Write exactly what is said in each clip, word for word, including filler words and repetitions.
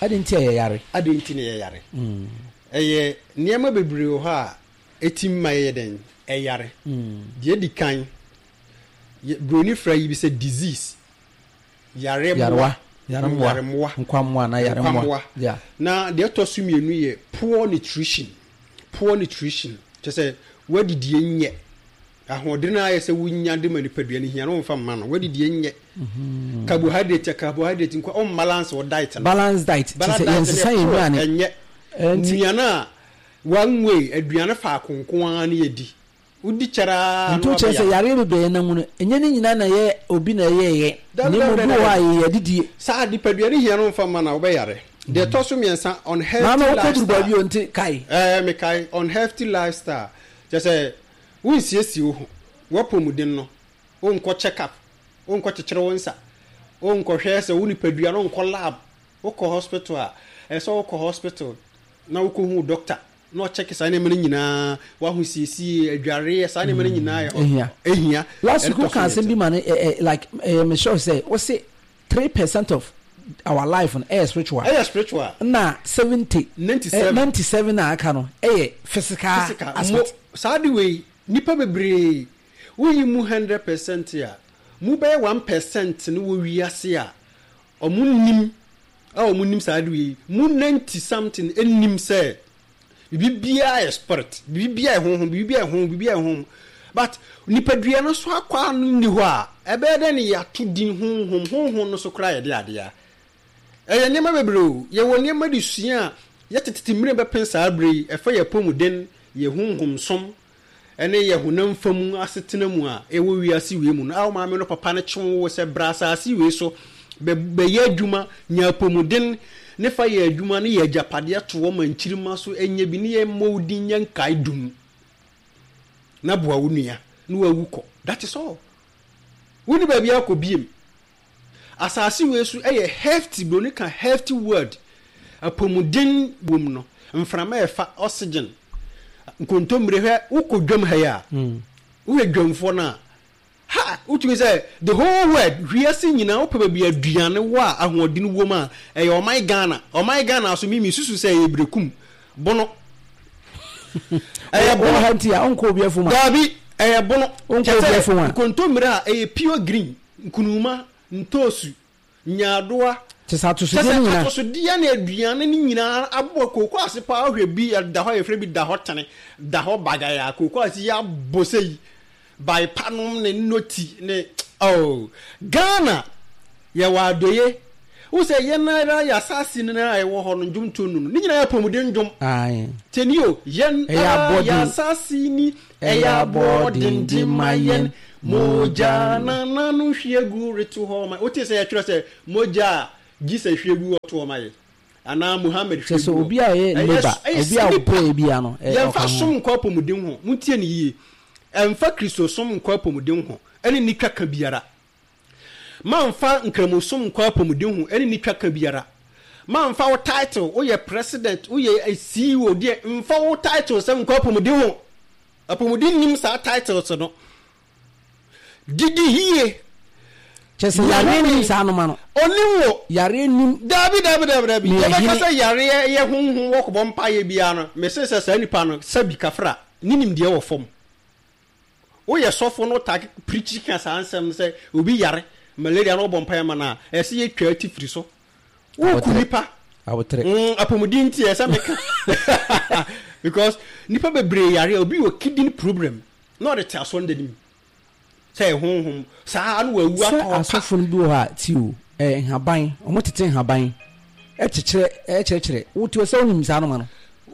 Adi nti a yɛyare. Adi nti na yɛyare. Ɛyɛ nneɛma bebree wɔ hɔ a ɛtumi ma yɛyɛ dɛn ɛyare. Deɛ edi kan, yɛ- broni fra yi bi sɛ disease, yare Yarewa. Yaremmoa. Yaremmoa. Nkwammoa na yaremmoa. Nkwammoa. Yeah. Na deɛ ɛtɔ so mmienu yɛ poor nutrition. Poor nutrition kyerɛ sɛ wadidie nyɛ ahoɔden a ayɛ sɛ wonya de ma nipadua no hia no, womfa mma no, wadidie nyɛ carbohydrate, carbohydrate nkwa, ɔmbalance wɔ diet no. Balance diet. Kyerɛ balance sɛ diet yɛnsesa no yɛn yɛ poor, nnuane. ɛnyɛ Ɛnti nnuane a one way, aduane faako nko ara ne yɛdi, wodi kyɛraa nti wokyerɛ sɛ yareɛ bebree nam mu no, ɛnyɛ ne nyinaa na ɛyɛ obi na ɛyɛɛyɛ, na Dabi, mmom dabi, bi wɔ hɔ a dabi. yɛyɛ adidie. Saa nipadua no hia no mfa mma na wobɛyare. Deɛ ɛtɔ so mmiɛnsa, unhealthy Maama wokɔduru lifestyle. Baabi o, nti kae. Ɛɛ, mekae. Unhealthy lifestyle kyerɛ sɛ wonsiesie wo ho, woapɔmuden no, wonkɔ check up, wonkɔ kyekyere wo nsa, wonkɔhwɛ sɛ wo nipadua no, wonkɔ lab. Wokɔ hospital a, ɛsɛ sɛ wokɔ hospital na wokɔhu doctor na ɔkyɛke saa nneɛma no nyinaa, woahosiesie, adwareɛ, saa nneɛma no nyinaa yɛ ehia. Ehia. Last week Ɛno tɔ woka so asɛm bi mmiɛnsa. Ma no ɛ ɛ like ɛyɛ me sure sɛ wose three percent of our life no ɛyɛ spiritual. Ɛyɛ spiritual. Na seventy ninety seven. Ninety seven a aka no ɛyɛ physical physical mo aspect. Saa de wei, nipa bebree woyi mu hundred percent a, mu bɛyɛ one percent no wɔ wiase a ɔmo nim a ɔmo nim saa de wei mu. Ninety something nim sɛ biribi biara yɛ spirit, biribi biara yɛ honhom, biribi biara yɛ honhom, biribi biara yɛ honhom, but nipadua no so akɔ ano nni hɔ a, ɛbɛyɛ dɛ ne yɛato din honhom. Honhom no so koraa yɛde adeɛ a ɛyɛ nneɛma bebree o. Yɛwɔ nneɛma de sua a yɛtetete mmerɛ bɛpɛn saa berɛ yi, ɛfa yɛ apɔmuden, yɛ honhom som ɛne yɛ honam fam asetena mu a ɛwɔ wiase wei mu no a, wo maame no papa no kye wo sɛ bra asase wei so bɛ- bɛyɛ adwuma, nya apɔmuden ne fa yɛ adwuma ne yɛ agyapadeɛ to hɔ ma nkyirima so ɛnyɛ bi ne yɛ mmɔ wo din nyɛ nkae dum na boa wo nua na wawu kɔ. That is all. Woni baabi akɔ biem. Asase wei so ɛyɛ hefty, broni ka hefty word, apɔmuden wom no, mframa ɛfa oxygen, nkontommire. Hwɛ, wokɔ dwam ha yi a, wohwɛ dwamfoɔ no a, ha wotumi sɛ the whole world, wiase nyinaa, wopɛ baabi aduane wɔ a ahoɔden wom a, ɛyɛ ɔman Ghana. Ɔman Ghana so mimi susu sɛ ɛyɛ Berekum Bono, ɛyɛ Wɔ Bono. Ha nti a ɔnkɔ obi afum a. Daabi, ɛyɛ Bono. Wonkɔ kyɛ obi sɛ afum a. Nkontommire a ɛyɛ pure green, nkunuma, ntoosu, nyaadoa. Kyɛ sɛ kyɛ atosodeɛ sɛ no nyinaa. Atosodeɛ ne aduane no nyinaa aboa kooko ase paa. Wohwɛ bi da hɔ a, yɛfrɛ bi da hɔ tene, da hɔ bagaya, kooko ase yi abɔ sɛ yi baepa nom ne noti ne. Oh, Ghana yɛwɔ adɔye wo sɛ yɛn ara yɛ asase no a ɛwɔ hɔ no, ndwomtoɔ nu no ne nyinaa yɛ apɔmuden ndwom. Ae. Tiɛni o, yɛn Ɛyɛ ara yɛ abɔden. asase ni, ɛyɛ abɔden de ma yɛn, mogya nananom hwie gu reto hɔ ma wote sɛ yɛtwerɛ sɛ mogya a Jesus hwie gu hɔ to hɔ ma yɛ anaa Muhammad kyɛ hwie sɛ gu hɔ. Obi a ɔyɛ Ɛyɛ labour, ɛyɛ obi a nipa. ɔbrɛ bia no ɛ Yɛmfa ɔka ho. Som nkɔ apɔmuden ho. Montie ne yie, ɛmfa Kristosom nkɔ apɔmuden ho ɛne ne twa ka biara. Mamfa nkramosom nkɔ apɔmuden ho ɛne ne twa ka biara. Mamfa wo title, woyɛ president, woyɛ C E O deɛ, mfa wo title sɛ nkɔ apɔmuden ho. Apɔmuden nim saa titles no. Didi yie. Kyɛ sɛ yareɛ nim saa anoma no. Onim wo. Yareɛ nim. Daabi, daabi, daabi, daabi. Ne yɛbɛka yɛhene. Sɛ yareɛ yɛ honhom wɔkɔbɔ mpayɛ biara no, mese sɛ saa nipa no sɛbi kafra ne nimdeɛ wɔ fam. Woyɛ sɔfo no ta pirikyi ka saa nsɛm no sɛ obi yare malaria na wɔbɔ mpayɛ ma no a, ɛsɛ yɛtwa ati firi so, woku Abotrɛ. nipa. Abotrɛ. Mm, apɔmuden nti ɛsɛ meka because nipa bebree yare a, obi wɔ kidney problem na ɔde te asɔre n'anim sɛ ɛyɛ honhom saa na wawu sɛ atɔ hɔ pa. Asɔfo no bi wɔ hɔ a, ti o, ɛɛ nhaban, ɔmo tete nhaban ɛkyekyerɛ ɛkyerɛkyerɛ wote sɛ wonim saa anoma no.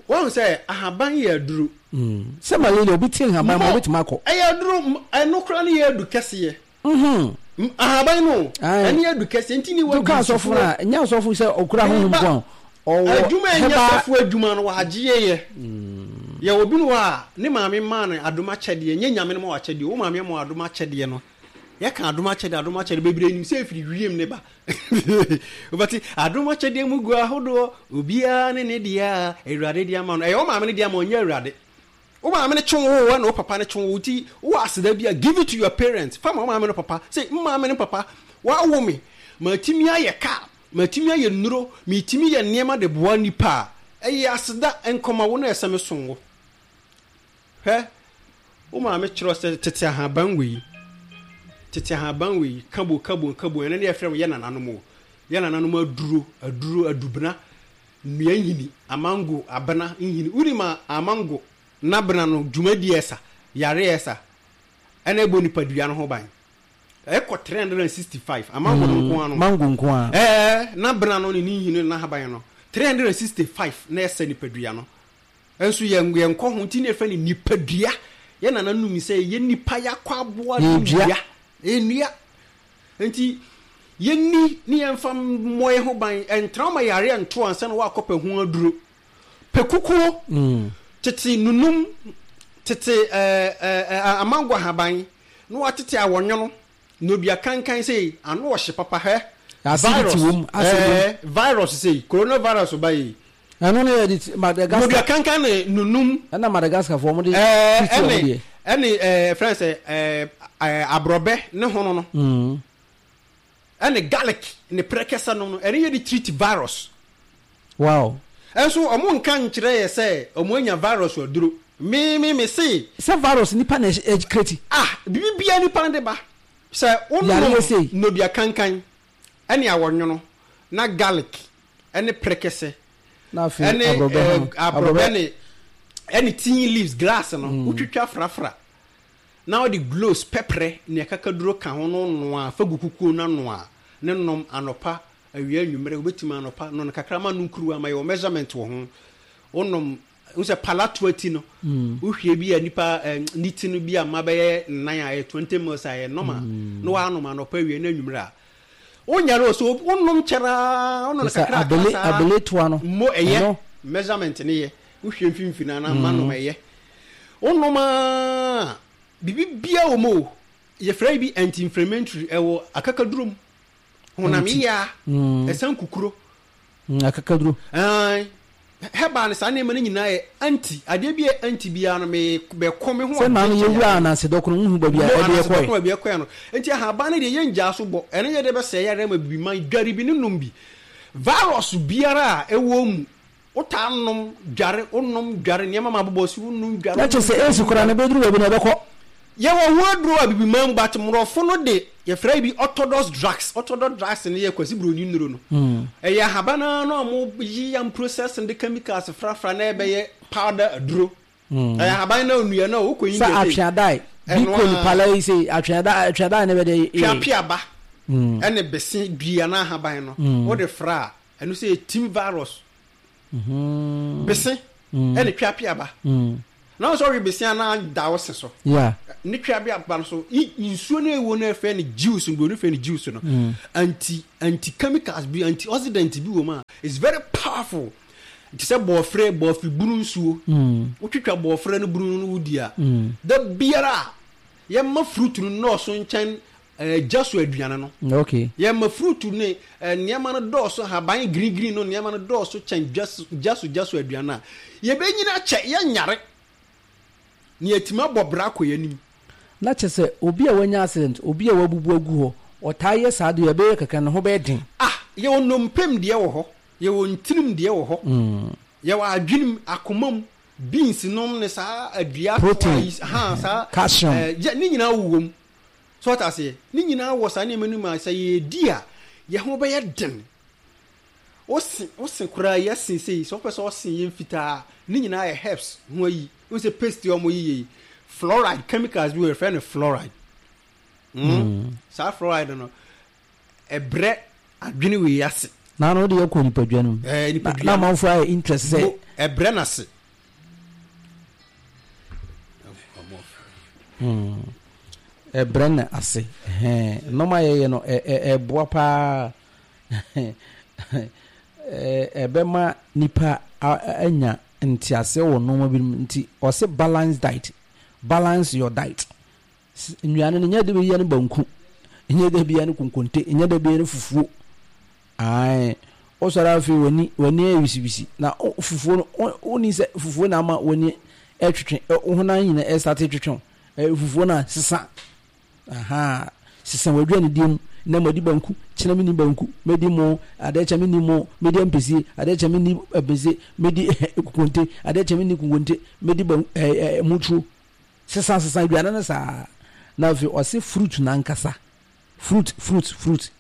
Wɔn sɛ ahaban yɛ aduro. Mm. Sɛ malaria, obi te nhaban ma Mo obetumi akɔ. Ɛyɛ aduro, m- ɛno koraa no yɛ adu kɛseɛ. Mhm. M- ahaban no Aye. ɛne adu kɛseɛ nti ne to ka wadi asɔfo no a, ɛnyɛ asɔfo sɛ ɔkura honhom Meba. ko a ɔwɔ Adwuma a ɛnyɛ herbal sɔfo adwuma no wagye yɛ yɛ obi no hɔ a, ne maame maa no adom akyɛdeɛ. Nyɛ Nyame no ma wakyɛdeɛ, wo maame ama wo adom akyɛdeɛ no. Yɛka adom akyɛdeɛ, adom akyɛdeɛ bebree nim sɛ ɛfiri wiem ne ba. Wobɛte adom akyɛdeɛ mu gu ahodoɔ, obiara ne ne deɛ a Awurade de ama no. Ɛyɛ wo maame no deɛ ama, ɔnyɛ Awurade. Wo maame no kye wo wo na wo papa no kye wo nti wowɔ aseda bi a, give it to your parents. Fa ma wo maame no papa sɛ maame no papa wawo me matumi ayɛ car. Matumi ayɛ nnuro, metumi yɛ nneɛma de boa nipa a, ɛyɛ aseda nkɔma wo na ɛsɛ me som wo. Hwɛ, wo maame kyerɛ sɛ tete ahaban wei, tete ahaban wei, kabo kabo kabo, ɛno ne yɛfrɛ no yɛ nananom o. Yɛ nananom aduro, aduro, adubena, nnua nhini, amango, abena nhini. Wonim a amango n'abena no dwumadi ɛsa, yare ɛsa, ɛna ɛbɔ nipadua no ho ban. Ɛkɔ three hundred and sixty five amango no nko ano. Mango nko ara. Ɛɛ, n'abena no ne ne nhini ne n'ahaban no, three hundred and sixty five na ɛsa nipadua no. Nso yɛn yɛn kɔ ho nti na yɛfrɛ no nipadua. Yɛn nananom sɛ yɛ nipa yɛakɔ aboa no Yɛdua. Yɛnnua. Nti yɛnni ne yɛmfa mmɔ yɛn ho ban. Ɛntra ma yare nto ansa na woakɔpɛ ho aduro. Pɛ kukuo, Mm. tete nunum, tete ɛɛ ɛɛ amango ahaban, na watete awɔnwono, na odua kankan sei, ano ɔhye papa hɛ. Acidity Virus, wom, acid wom. ɛɛ virus sei, coronavirus ba yi. Ɛno no yɛ de ti- Madagascar. Nodua kankan ne nunum. Ɛna Madagascar foɔ wɔn de Ɛɛ treat wɔn ɛne deɛ. ɛne ɛɛ fɛn sɛ ɛɛ ɛɛ aborɔbɛ ne hono no. Mm. Ɛne garlic ne prɛkɛsɛ no no, ɛne yɛ de treat virus. Wow. Ɛnso ɔmo nka nkyerɛ yɛ sɛ ɔmo anya virus aduro. Me me me se. Sɛ virus nipa na ɛ create. Ah, bibi bia nipa de ba. Sɛ Yare wonom sei. nodua kankan ɛne awɔnwono na garlic ɛne prɛkɛsɛ Na afei ɛne aborɔbɛ ho no. ɛɛ aborɔbɛ ne ɛne tea leaves grass no wotwitwa frafra na wɔde cloves pɛprɛ ne akakaduro ka ho no noa fa gu kukuo no anoa ne nom anɔpa, awia, anwummerɛ. Wobɛtumi anɔpa no no kakra ma no nkuruwa ma yɛwɔ measurement wɔ ho. Wonom wo sɛ palatoa ti no, wohwie bi a nipa eh, ne ti no bi a ma bɛyɛ nnan a ɛyɛ twenty mils a ɛyɛ normal na woanom anɔpa, awia ne anwummerɛ a wonyare o. So wonom kyɛraa, wonom no Sɛ kakra abele saa abele toa no. Mo ɛyɛ Ɛno. measurement ne yɛ wohwie mfimfini anaa ma nom ɛyɛ wonom a biribi bia wɔ mu o. Yɛfrɛ bi anti-inflammatory, ɛwɔ akakaduro mu, honam Anti. yia Mm. ɛsan kukuro. Mm, akakaduro. Ɛn, herbal no saa nneɛma no nyinaa yɛ anti adeɛ bi yɛ anti biara no me bɛkɔ me ho. Sɛ naa no yɛwura ananse dɔkono nhu baabi a mo ɛde anase ɛkɔɛ. dɔkono baabi ɛkɔɛ no. Nti ahaban no deɛ yɛngyaa so bɔ, ɛno yɛ de bɛsɛe yare ama bibi man dware bi ne nom bi. Virus biara a ɛwɔ mu, wotaa nom dware, wonom dware nneɛma ma abobɔ si, wonom dware. Na kyerɛ sɛ esi koraa no bɛduru baabi na ɛbɛkɔ. Yɛwɔ ho aduro a bibi man mu, but mmorɔfo no de yɛfrɛ bi orthodox drugs. Orthodox drugs no yɛ Kwasi Buroni nnuro no. Ɛyɛ ahaban ara no a mo yi yam process de chemicals frafra na ɛbɛyɛ powder aduro. Ɛyɛ ahaban na onua na wokɔ sɛ India sei. Atweadae bi Ɛno kɔ a nipa la yi sɛ atweadae atweadae ne bɛde. Tweapeaba ɛne bese dua na ahaban no wode fra a, ɛno sɛ yɛ team virus. Bese ɛne tweapeaba na wɔn sɛ ɔwe bese a na da wo se so. Yeah. Ne tweapeaba no so i- nsuo no ɛwɔ no ɛfɛ ne juice no, buroni fɛ ne juice no, anti anti chemicals bi, antioxidant bi wɔ mu a it's very powerful. Te sɛ bɔɔfrɛ bɔɔfrɛ bunu nsuo, wotwitwa bɔɔfrɛ no bunu no wodi a, da biara a yɛma fruit no nnɔɔso nkyɛn ɛɛ gya so aduane no. Okay. Yɛma fruit ne eh, nneɛma no dɔɔso, haban green green no nneɛma no dɔɔso kyɛn gya so gya so gya so aduane a yɛbɛnyina kyɛ yɛnyare ne yɛtumi abɔ bra akɔ yɛn anim. Na kyerɛ sɛ obi a wanya accident, obi a wabubu agu hɔ, ɔtaa yɛ saa deɛ ɛbɛyɛ kakra ne ho bɛyɛ den. Ah, yɛwɔ nnompem deɛ wɔ hɔ, yɛwɔ ntirim deɛ wɔ hɔ, yɛwɔ adwenem, akoma mu, beans nom ne saa adua Protein. yi ha saa Calcium. eh, yɛ- ne nyinaa wɔ mu so ɔta aseɛ. Ne nyinaa wɔ saa nneɛma no mu a sɛ yɛdi a yɛn ho bɛyɛ den. Wose wose koraa yɛse sei sɛ wopɛ sɛ ɔse yɛ mfitaa, ne nyinaa yɛ herbs ho ayi. Wo sɛ paste a ɔmo yiyɛ yi, fluoride chemicals bi wɔ, yɛfrɛ no fluoride mm. Saa fluoride no ɛbrɛ adwene wei ase. Na no wode yɛkɔ nipadua no mu. Ɛɛ, nipadua na no. Amanfoɔ ayɛ interest sɛ Mo ɛbrɛ n'ase. Ɛbrɛ no ase. Ɛhɛn, nneɛma a yɛyɛ no ɛ- ɛ- ɛboa paa. Ɛ- ɛbɛma nipa a- a- anya nteaseɛ wɔ nneɛma bi mu. Nti ɔsɛ balance diet, balance your diet. S- nnuane no nyɛ de bɛyɛ no banku, nyɛ de bɛyɛ no konkonte, nyɛ de bɛyɛ no fufuo. Ae, wosɔre afei w'ani w'ani ayɛ wisiwisi na wo- fufuo no wo- woni sɛ fufuo na ama w'ani ɛtwetwe ɛ, wo honam nyina ɛsate twetwe wo. Ɛ, fufuo no a sesa aha sesa w'aduane die mu. Na madi banku, kyena menni banku, mɛdi mo, adeɛ kyɛ menni mo, mɛdi ampesie, adeɛ kyɛ menni ampesie, mɛdi kokonte, adeɛ kyɛ menni kokonte, mɛdi ban ɛɛ ɛɛ mutuo. Sesa sesa aduane no saa. Na afei ɔse fruit nankasa, fruit fruit fruit,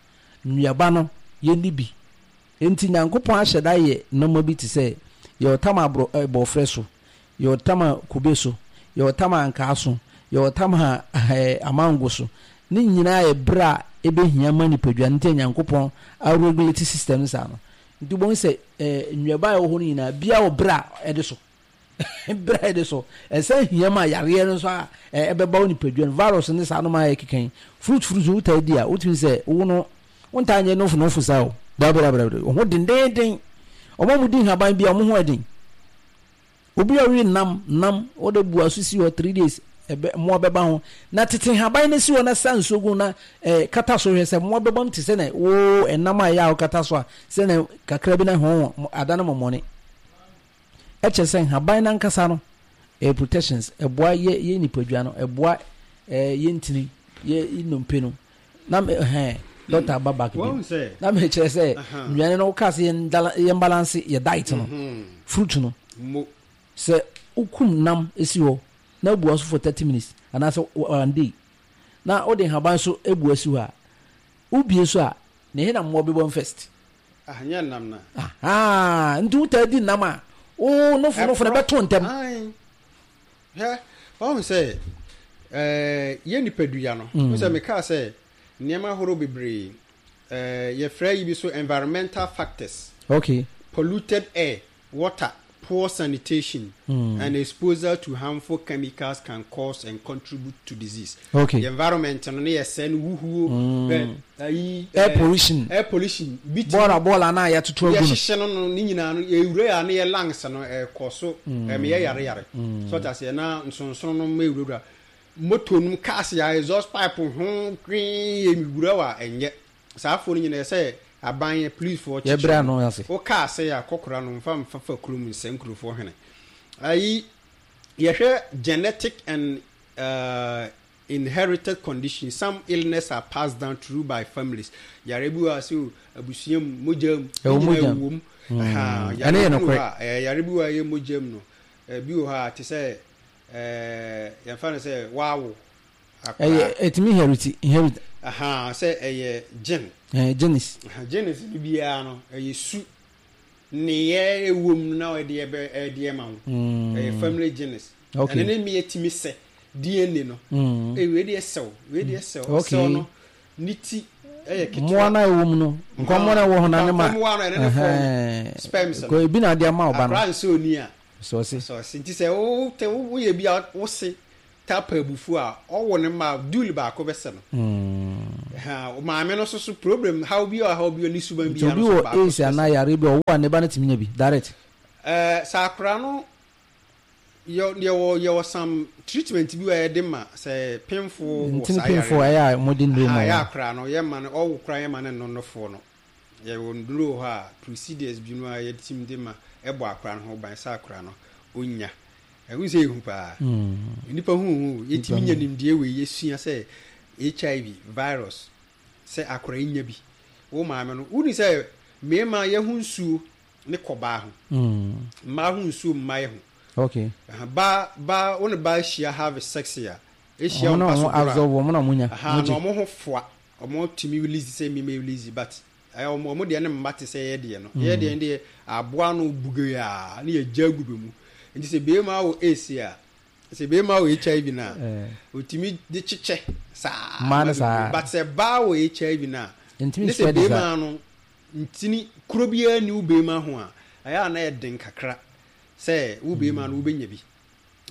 nnuaba no yɛnni bi. Enti Nyankopɔn ahyɛ da yɛ nnoɔma bi te sɛ yɛwɔ tam a borɔ eh, bɔɔfrɛ so, yɛwɔ tam a kube so, yɛwɔ tam a ankaa so, yɛwɔ tam a eh, amango so. Ne nyinaa yɛ berɛ a ɛbɛhia ma nipadua no nti a Nyankopɔn aregulate system no saa no. Nti wobɛhu sɛ eh, nnuaba a ɛwɔ hɔ no nyinaa, biara wɔ berɛ a ɛde so. Berɛ a ɛde so ɛsan hia ma yareɛ no nso a ɛbɛba wo nipadua no, virus ne saa nom a ɛkeka yi. Fruit fruit wotaa di a, wotumi sɛ wo no wontaa nyɛ nofo nofo saa o. Dabi dabi dabi, wo ho dendeenden. Wɔn a wɔdi nhaban bi a wɔn ho ɛden. Obi a ɔwe nam nam wɔde bu aso si hɔ three days, ɛbɛ mmoa bɛba ho. Na tete nhaban no si hɔ na sa nsuo gu na ɛɛ kata so hwɛ sɛ mmoa bɛba mu te sɛ na wo ɛnam a ɛyɛ a wokata so a sɛ na kakra bi na ho ada no mɔmɔne. Ɛkyerɛ sɛ nhaban no ankasa no ɛyɛ protections, ɛboa yɛ yɛ nipadua no, ɛboa ɛɛ yɛ ntini, yɛ nnompe no. Na me hɛn doctor aba back bi. Na me kyerɛ sɛ nnuane no wokaa sɛ yɛn dala yɛn balance yɛ diet no, fruit no. Sɛ wokum nam si hɔ na abua so for thirty minutes anaasɛ one day na wode nhaban so abua si hɔ a, wobie so a, na ɛhe na mmoa bɛbɔ mu first? Ah, nyɛ nam na. Ahaa, nti wotaa di nam a, wo nofo nofo no bɛto ntɛm. Ae. Hwɛ, wahu sɛ, ɛɛ, yɛn nipadua no, mm. sɛ mekaa sɛ nneɛma ahorow bebree, ɛɛ, yɛfrɛ yi bi so environmental factors. Okay. Polluted air, water, poor sanitation, mm. and exposure to harmful chemicals can cause and contribute to disease. Okay. The environment no ne yɛ sɛ no wuhuo. Mm. Ayi, air pollution. Air pollution. Bi ti. Bɔɔla bɔɔla na yɛatoto agu no. Yɛhyehyɛ no no ne nyinaa no yɛwura yɛ a ne yɛ lungs no ɛkɔ so ɛmɛ yɛ yare yare. So ɔte aseɛ na nsonsono no ma ewurawura moto nom cars yɛ exhaust pipe ho hwee yɛ wura wa ɛnyɛ. Saa afoɔ no nyinaa ɛsɛ aban yɛ police foɔ kyekyere no. Wo car sɛ yɛ akɔkora no nfa nfa fa kurom nsɛ nkurofoɔ hwene. Ayi yɛhwɛ genetic and uh, inherited condition, some illness are passed down through by families. Yare bi wɔ ase o, abusua mu, mogya mu, ɛwɔ mogya mu. Mm. Ɛno yɛ nokorɛ. Yare bi wɔ a ɛyɛ mogya mu no, bi wɔ hɔ a te sɛ yɛmfa no sɛ wawo akwadaa. Ɛyɛ ɛtumi inherit inherit. Aha, sɛ ɛyɛ gene. Ɛɛ genes. Genes no biara no ɛyɛ su nneyɛɛ ɛwɔ mu na ɛde ɛbɛ ɛde ɛma wo. Ɛyɛ family genes. Okay. Ɛno ne mmea tumi sɛ D N A no. Mm. Ee wei deɛ sɛw, wei deɛ sɛw. Okay. Sɛw no ne ti ɛyɛ ketewa. Mmoa no a ɛwɔ mu no, nkɔmmɔ no a ɛwɔ hɔ no ne ma. Nkɔmmɔ no ɛno ne fɔm sperms no. Ebi na ade ama ɔba no. Akora nso oni a. Sɔɔse. Sɔɔse nti sɛ wo te woyɛ bi a wose tapa abufuo a ɔwɔ ne ma dul baako bɛsɛ no. Mm. Ha maame no so so problem haw bi a haw bi ne suban bi a no so baako. Obi wɔ AIDS anaa yare bi a ɔwɔ a ne ba no tumi nya bi direct. Ɛɛ sɛ akora no yɛ yɛwɔ yɛwɔ some treatment bi a yɛde ma sɛ pemfo wɔ Ntini saa yare pemfo ɛyɛ a wɔde nnuro ma ɛyɛ wɔn. akora no yɛ ma no ɔwo kora yɛ ma no nnɔnɔfoɔ no. Yɛwɔ nnuro wɔ hɔ a procedures bi no a yɛtumi de ma ɛbɔ akora no ho ban sɛ akora no ɔnya. Ɛho sɛ ehu paa. Nnipa hu hu yɛtumi nya nimdeɛ wei yɛsua sɛ H I V virus sɛ akora yi nya bi. Wo maame no woni sɛ mmarima yɛho nsuo ne kɔ baa ho. Mmaa ho nsuo mma yɛ ho. Okay. Ba ba wo ne ba ahyia have sex a ehyia wɔn mpa so boro a. Absorb wɔn na wɔn nya. Aha na wɔn ho foa. Wɔn tumi release sɛ mima release but ɛyɛ wɔn wɔn deɛ ne mma te sɛ yɛ deɛ no. Yɛ deɛ deɛ aboa no buge a ne yɛ gya gu bɛ mu. Nti sɛ beema wɔ AIDS a sɛ beema wɔ H I V na otumi de kyekyɛ saa. Mmaa no saa. But sɛ baa wɔ H I V na ne sɛ beema no ntini kuro biara ni wo beema ho a ɛyɛ a na yɛ den kakra sɛ wo beema no wobɛnya bi.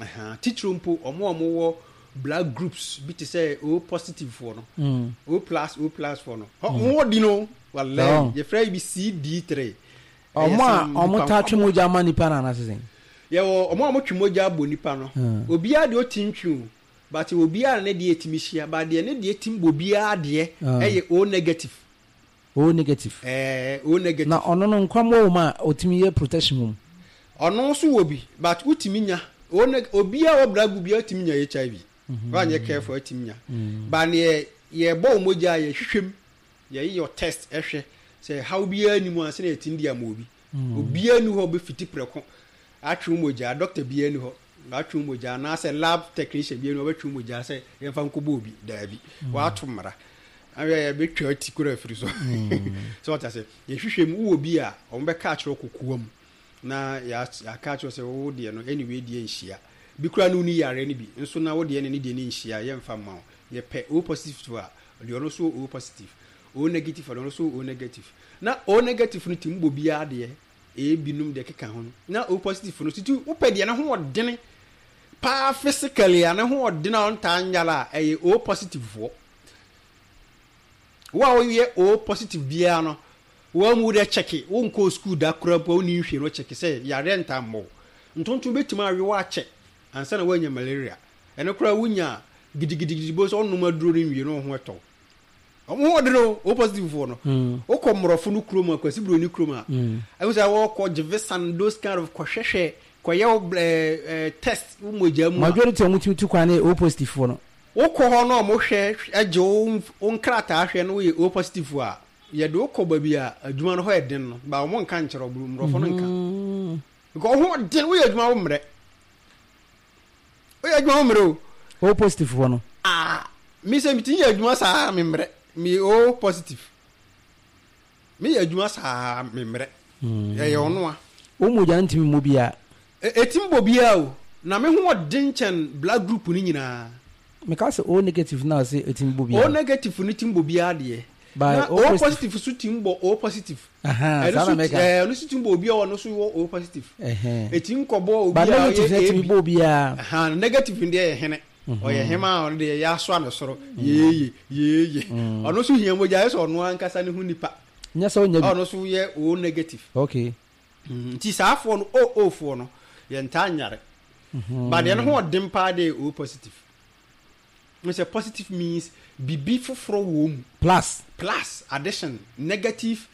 Aha, titiriw mpo ɔmo a ɔmo wɔ blood groups bi te sɛ O positive foɔ no, mm. O plus O plus foɔ no, ɔmo wɔ di no, wallahi, yɛfrɛ yi bi C D three. Ɔmo a ɔmo taa twe mogya ama nipa no anaasɛ sɛn? Yɛwɔ ɔmo a ɔmo twe mogya bɔ nipa no, obiara deɛ ɔti ntwe o, but obiara ne deɛ etimi hyia, but deɛ ne deɛ tim bɔ obiara deɛ ɛyɛ O negative. O negative. Ɛɛ O negative. Na ɔno no nkwammoa wɔ mu a ɔtumi yɛ protection wɔ mu. Ɔno nso wɔ bi but wotumi nya O neg obiara wɔ blood group biara wotumi nya H I V. Wanyɛ careful wotumi nya. But neɛ yɛbɔ wo mogya a yɛhwehwɛ mu Yɛyɛ test ɛhwɛ sɛ haw biara ni mu ansa na yɛtumi de ama obi. Obiara ni hɔ bɛfiti prɛko atwe wo mogya. Doctor biara ni hɔ atwe wo mogya anaasɛ lab technician biara ni hɔ bɛtwe wo mogya sɛ yɛmfa nkɔbɔ obi. Daabi, wɔato mmara awɛ yɛbɛtwa ti kora afiri so sɛ wɔta sɛ yɛhwehwɛ mu wowɔ bi a, ɔmo bɛka akyerɛ wo kokoa mu na yɛaka akyerɛ sɛ wo deɛ no ɛne wei deɛ nhyia bi koraa ne wo ni yare no bi nso na wo deɛ ne ne deɛ no nhyia, yɛmfa mma wo. Yɛpɛ O positive a, deɛ ɔno nso O positive, O negative a, deɛ ɔno nso O negative. Na O negative no tumi bɔ biara deɛ ebinom deɛ keka ho no, na O positive no tutu wopɛ deɛ ne ho ɔdene paa physically a, ne ho ɔdene a ɔntaa nyala a, ɛyɛ O positive foɔ. Wo a woyɛ O positive biara no, wɔn mu deɛ kyɛke wonkɔ school da koraa mpo a wonni nhwɛ no, kyɛke sɛ yareɛ ntaa mmɔ wo. Ntontom bɛtumi awe wo akyɛ ansa na woanya malaria. Ɛno koraa wonya gidigidigidi bo sɛ ɔnom aduro no nwie no, wo ho ɛtɔ ɔmo ho ɔdene o. O positive foɔ no, wokɔ mmorɔfo no kurom a, Kwasi Buroni kurom a, ɛhu sɛ wɔkɔ gyevesan, those kind of kɔhwɛhwɛ kɔyɛ wo ɛɛ ɛɛ test wo mogya mu a, Majority a wɔn tumi tu kwan ne O positive foɔ no. Wokɔ hɔ na ɔmo hwɛ ɛgye wo wo nkrataa hwɛ no, woyɛ O positive a, yɛde wokɔ baabi a adwuma no hɔ yɛ den no ba, ɔmo nka nkyerɛ wo. Mmorɔfo no nka because wo ho den, woyɛ adwuma wo mmerɛ, woyɛ adwuma wo mmerɛ o. O positive foɔ no. Ah, mi sɛ mi ti yɛ adwuma saa mi mmerɛ. Mi O positive, mi yɛ adwuma saa mi mmerɛ, ɛyɛ ɔno a. O mogya no ntumi mmɔ biara. Ɛtim bɔ biara o, na me ho ɔden kyɛn blood group no nyinaa. Meka sɛ O negative na ɔsɛ ɛtumi bɔ O biara. Negative no tim bɔ biara deɛ. By na O O positive. Positive so tim bɔ O positive. Aha, ɛno saa so na mɛka. Ɛɛ, ɛno so tim bɔ obi a ɔno so wɔ O positive. Ɛhɛn. Ɛtim kɔbɔ obi Ba a negative na ɔyɛ ɛtumi A B. bɔ obiara. Aha, negative no deɛ yɛ hene, ɔyɛ hema a ɔno deɛ yɛ asoa no soro yeeye yeeye. Ɔno nso hia mogya, ayɛ sɛ ɔno ankasa ne ho nipa. Nyɛ sɛ ɔnya bi. Ɔno nso yɛ O negative. Okay. Mm, nti saa afoɔ no, O O foɔ no, yɛntaa nyare ba deɛ no ho ɔden paa deɛ O positive n sɛ positive means bibi foforɔ wɔ mu. Plus. Plus, addition, negative,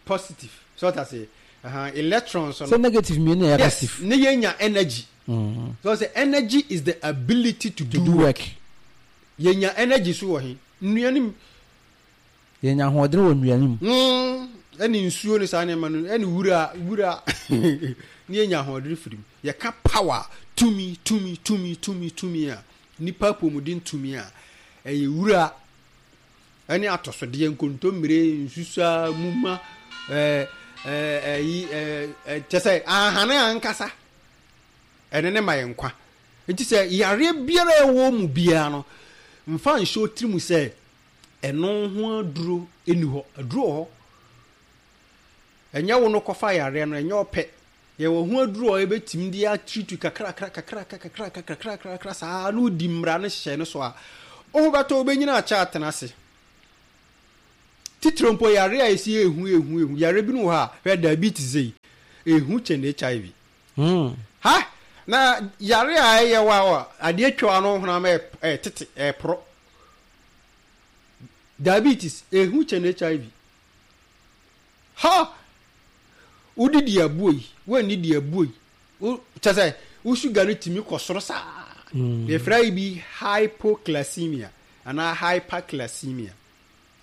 positive, so ɔta sɛ uh, electrons no. Sɛ negative mmienu na ɛyɛ Yes. positive. Ne yɛnya energy. So sɛ energy is the ability to, to do work. Yɛnya energy so wɔ he? Nnua mu. Yɛnya ahoɔden wɔ nnuane mu. Mm, ɛne nsuo ne saa nneɛma no, ɛne wura wura ne yɛnya ahoɔden firi mu. Yɛka power, tumi tumi tumi tumi tumi a nipa apɔmuden tumi a ɛyɛ wura ɛne atɔsodeɛ, nkontommire, nsusa, muma, ɛɛ ɛɛ ɛyi ɛɛ ɛ kyɛ sɛ ahane ankasa ɛne ne ma yɛn nkwa. Nti sɛ yareɛ biara a ɛwɔ mu biara no, mfa nhyɛ otiri mu sɛ ɛno ho aduro ɛni hɔ. Aduro wɔ hɔ. Ɛnyɛ wo no kɔfa yareɛ no, ɛnyɛ ɔpɛ. Yɛwɔ ho aduro a yɛbɛtumi de atiritu kakrakra kakrakra kakrakra kakrakra kakra saa na wodi mmara no hyɛ no so a, wo ho bɛtɔ, wobɛnyina akyɛ atena ase. Titire mpo yare a ɛsi ehu ehu ehu yare bi no wɔ hɔ a, hwɛ, diabetes yi ehu kyɛn H I V. Mm. Ha na yare a ɛyɛ wa a adeɛ twa no honam ɛ ɛ tete ɛporɔ. Diabetes ehu kyɛn H I V. Ha wodidi abuo yi, wɔnnidi abuo yi, wo kyɛ sɛ wo sugar no tumi kɔ soro saa. Yɛfrɛ yi bi hypoglycemia anaa hyperglycemia.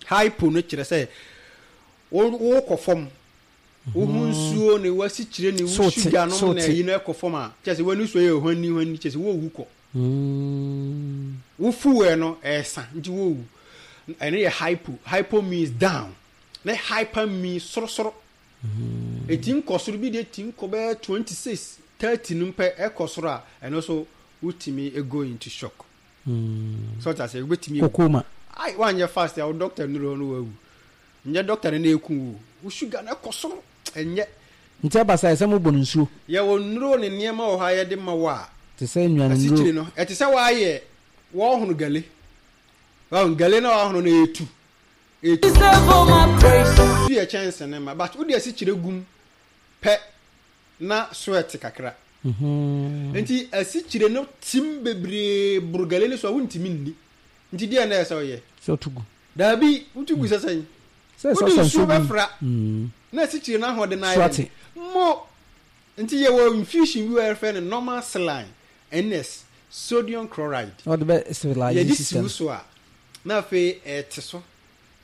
Hypo no kyerɛ sɛ wo wokɔ fam, wo ho nsuo ne wasikyire ne wo So te, sugar so nom na te. ɛyi no ɛkɔ fam a, kyerɛ sɛ w'ani so yɛ hwani hwani, kyerɛ sɛ wowu kɔ. Mm. Wo fuel no ɛɛsa nti wowu. Ɛno yɛ hypo. Hypo means down, na hyper means sorosoro. Eti nkɔ soro bi deɛ ti nkɔ bɛyɛ twenty six, thirty no mpɛ ɛkɔ soro a, ɛno so wotumi go into shock. So ɔta sɛ wobɛtumi ewu. Kokoma. Ai, wanyɛ fast a, wo doctor nuro hɔ no wawu. Nyɛ doctor no na eku wo, wo sugar no ɛkɔ soro, ɛnyɛ. Nti aba saa, ɛsɛ mobɔ no nsuo. Yɛwɔ nnuro ne nneɛma wɔ hɔ a yɛde ma wo a te sɛ nnuane asikyire nnuro. No ɛte sɛ woayɛ wɔhono gale, wɔhono gale na wɔhono no etu etu tu yɛ kyɛnse ne ma, but wode asikyire gum pɛ na sweat kakra. Mhm. Nti asikyire no tim bebree boro gale no so a, wontumi nni. Nti deɛ na ɛsɛ sɛ woyɛ? Sɛ ɔto gu. Daabi, wotu gu sɛ sɛn? Sɛ wode sɛ ɔsa nsuo nsuo gu. Bɛfra Mm. na asikyire no ahoɔden no So ayɛ ate. den mo. Nti yɛwɔ infusion bi wɔ yɛfrɛ no normal saline, N S, sodium chloride. Na ɔde bɛ stabilize yɛde system. Siw so a, na afei ɛte so,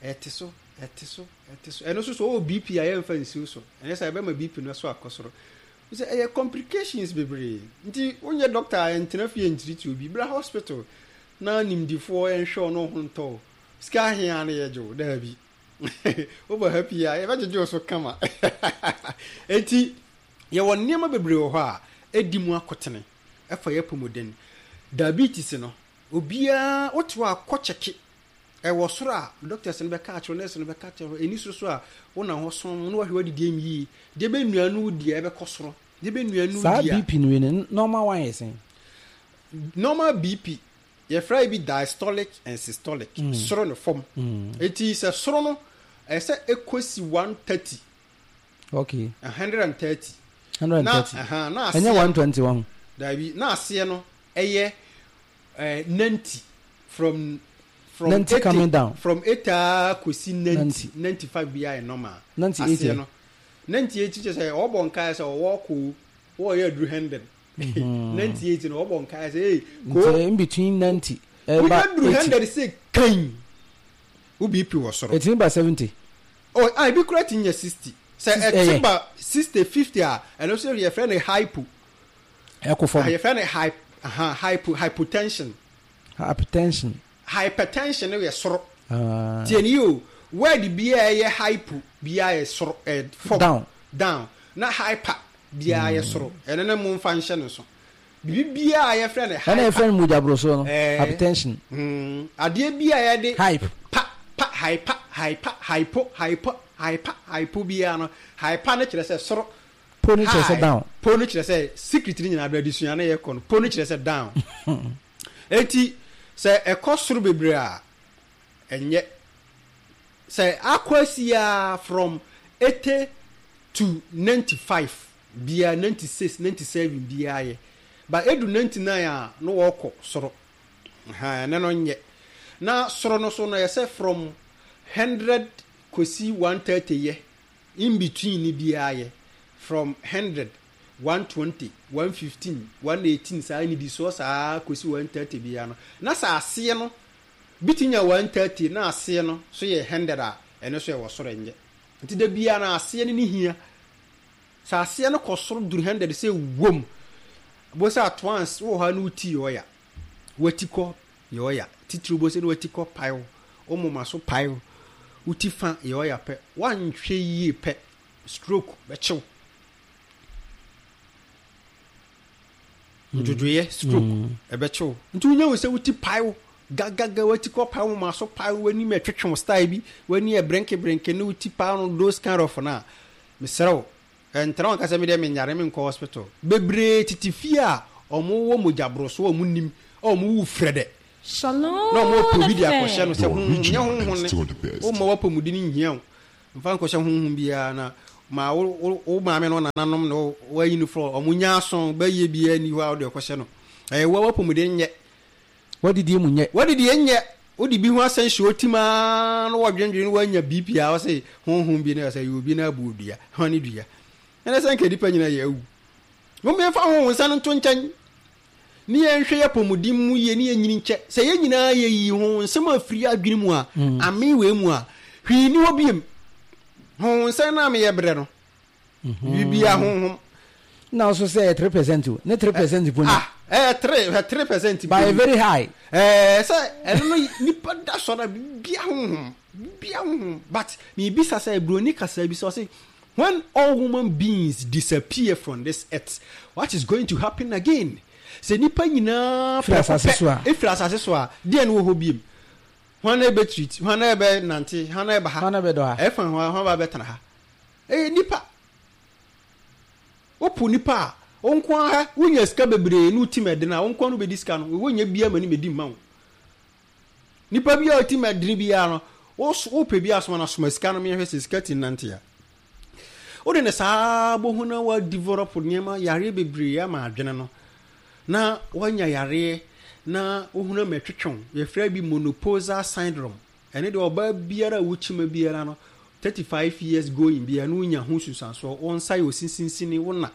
ɛte so. Ɛte so, ɛte so. Ɛno nso so ɔwɔ B P a, yɛmfa nsiw so. Ɛnyɛ sɛ ɛbɛma B P no so akɔ soro. Sɛ ɛyɛ complications bebree nti, wonyɛ doctor a, ɛntena fie nkyirikyiri obi. Bra hospital na nimdifoɔ ɛnhwɛ ɔno ho ntɔ. Sika ahea no yɛgye wo daabi, wobɔ ha pii a, yɛbɛgyegye wo so kama. Enti yɛwɔ nneɛma bebree wɔ hɔ a ɛdi mu akotene ɛfa yɛ apɔmuden. Diabetes no, obiara wote hɔ a, kɔ kyɛke. Ɛwɔ soro a, doctors no bɛka akyerɛ, nurse no bɛka akyerɛ. Ɛni soro so a, wonam hɔ som na wahwɛ wadidi mu yie. Deɛ bɛ nnuane wo di a ɛbɛkɔ soro, deɛ bɛ nnuane wo Saa di a B P no wei no, normal one yɛ sɛn? Normal B P, yɛfrɛ bi diastolic and systolic, soro ne fam. Eti sɛ soro no, ɛsɛ ɛkɔsi one thirty. Okay hundred and thirty. Hundred and Na thirty. Ɛha na Ɛnyɛ aseɛ one twenty one? Daabi, na aseɛ no ɛyɛ ɛɛ ninety from from ninety eighty coming down. From eighty a kɔsi ninety. Ninety. Ninety five bi ayɛ normal. Ninety eight. Aseɛ no ninety eight, kyerɛ sɛ ɔbɔ nkaeɛ sɛ ɔwɔ koo wɔyɛ aduru hundred. Ninety eight no, ɔbɔ nkaeɛ sɛ ee koo. Nti in between ninety ɛba wonya duru eighty. Hundred sɛ kan wo B P wɔ soro. Ɛtumi ba seventy? Oh, ah, ebi kura ti nya sixty. Sɛ Six- ɛte ɛyɛ. ba sixty, fifty a, ɛno nso yɛfrɛ no hypo. Ɛkɔ fam. Ah, yɛfrɛ no hyp aha, hypo hypotension. Hypertension. Hypertension no yɛ soro. Ah. Tie ni o, word biara ɛyɛ hypo biara yɛ soro, ɛ fam. Down. Down. Na hyper biara yɛ soro. Ɛno ne mo nfa nhyɛ no so. Bibi biara yɛfrɛ no Ɛna hyper. yɛfrɛ no mogya no. Ɛɛ. Hypertension. Hmm, adeɛ bi a yɛde hype pa pa hyper hyper hypo hypo hyper hypo biara no, hyper no kyerɛ sɛ soro. Po no kyerɛ sɛ High. down. Po no kyerɛ sɛ secret no nyinaa bɛ adesua no yɛ kɔ no, po no kyerɛ sɛ down. Eti sɛ ɛkɔ soro bebree a, ɛnyɛ sɛ akɔ asi a, from eighty to ninety five biara, ninety six, ninety seven biara yɛ, but edu ninety nine a, no wɔkɔ soro ha, ɛne no nyɛ. Na soro no so no, yɛ sɛ from hundred kɔsi one thirty yɛ, in between ni biara yɛ, from hundred, one twenty, one fifteen, one eighteen, saa nidisoɔ saa kɔsi one thirty biara no. Na sɛ aseɛ no bi ti nya one thirty na aseɛ no so yɛ hundred a, ɛno so yɛ wɔ soro, nyɛ. Nti da biara na aseɛ no ne hia sɛ aseɛ no kɔ soro duru hundred sɛ wom bo sɛ at once wɔ hɔ a, na woti yɛ ɔya, wati kɔ yɛ ɔya titiri bo sɛ na wati kɔ pae wo, wo moma so pae wo, woti fa yɛ ɔya pɛ, wanhwɛ yie pɛ, stroke bɛkyew, ndwodwoeɛ stroke ɛbɛkyew. Nti wonya wo sɛ woti pae wo gagaga, wati kɔ pae wo, moma so pae wo, w'anim ɛtwetwe wo style bi, w'ani ɛbrenke ne woti pae no, those kind of na mesrɛ wo, ɛntena wɔn kasa mi deɛ, menyare, menkɔ hospital. Bebree tete fie a ɔmo wɔ mogyaboroso a ɔmo nim a ɔmo wu frɛ dɛ Shalom na ɔmo pɛ obi de akɔhyɛ no sɛ The honhom nyɛ original honhom and ne still the best. woma wapɔmuden nhia wo, mfa nkɔhyɛ honhom biara. Na ma wo wo wo maame no nananom na wo- wayi no frɔ ɔmo nya aso bɛyɛ biara ni hɔ a wode ɔkɔhyɛ no. Ɛyɛ wo wapɔmuden nyɛ. Wadidie mu nyɛ. Wadidi nyɛ, wode bi ho asɛn hyɛ otim aa na wɔdwendwene na woanya B P a, wɔsɛ honhom bi no sɛ yɛ obi no abu odua hwane dua. Ɛnɛ sɛ nka nipa nyina yɛ awu. Mommɛmfa honhom nsa no nto nkyɛn ne yɛnhwɛ yɛ apɔmuden mu yie ne yɛnyini nkyɛ. Sɛ yɛn nyinaa yɛyi ho nsɛm afiri adwene mu a, ame wei mu a, hwee ni hɔ biem. Honhom nsɛm no a meyɛ berɛ no biribia honhom. Na nso sɛ yɛ three percent o, ne three percent po ni. Ah, ɛyɛ three, hwɛ, three percent. But very high. Ɛɛ, sɛ ɛno no nipa da sɔrɔ a, bibia honhom, bibia honhom. But miribisa sɛ buroni kasa bi sɛ ɔse, when all human beings disappear from this earth, what is going to happen again? Sɛ nipa nyinaa firi asase so a. Efiri asase so a, deɛ no wɔ hɔ biem? Hwan na ɛbɛ treat? Hwan na ɛbɛ nante? Hwan na ɛba ha? Hwan na ɛbɛdɔ ha? Ɛfa hwan, hwan ba bɛtena ha? Ɛyɛ nipa. Wopo nipa a, wo nko ara wonya sika bebree ne wotim ɛdene a, wo nko ara no bɛdi sika no, wonyɛ bia ma ne mɛdi mma wo. Nipa bi a ɔtim ɛdene biara no, wopɛ bi asoma no, asoma sika no, mehwɛ sɛ sika ti nante a, wode ne saa bohu na wadevelop nneɛma yareɛ bebree ama adwene no na wanya yareɛ na wohunu ama ɛtwetwew. Yɛfrɛ bi menopausal syndrome. Ɛne deɛ ɔbaa biara a wokyima biara no, thirty five years going biara na wonya ho susansoɔ. Wo nsa yɛ osisinsini, wo na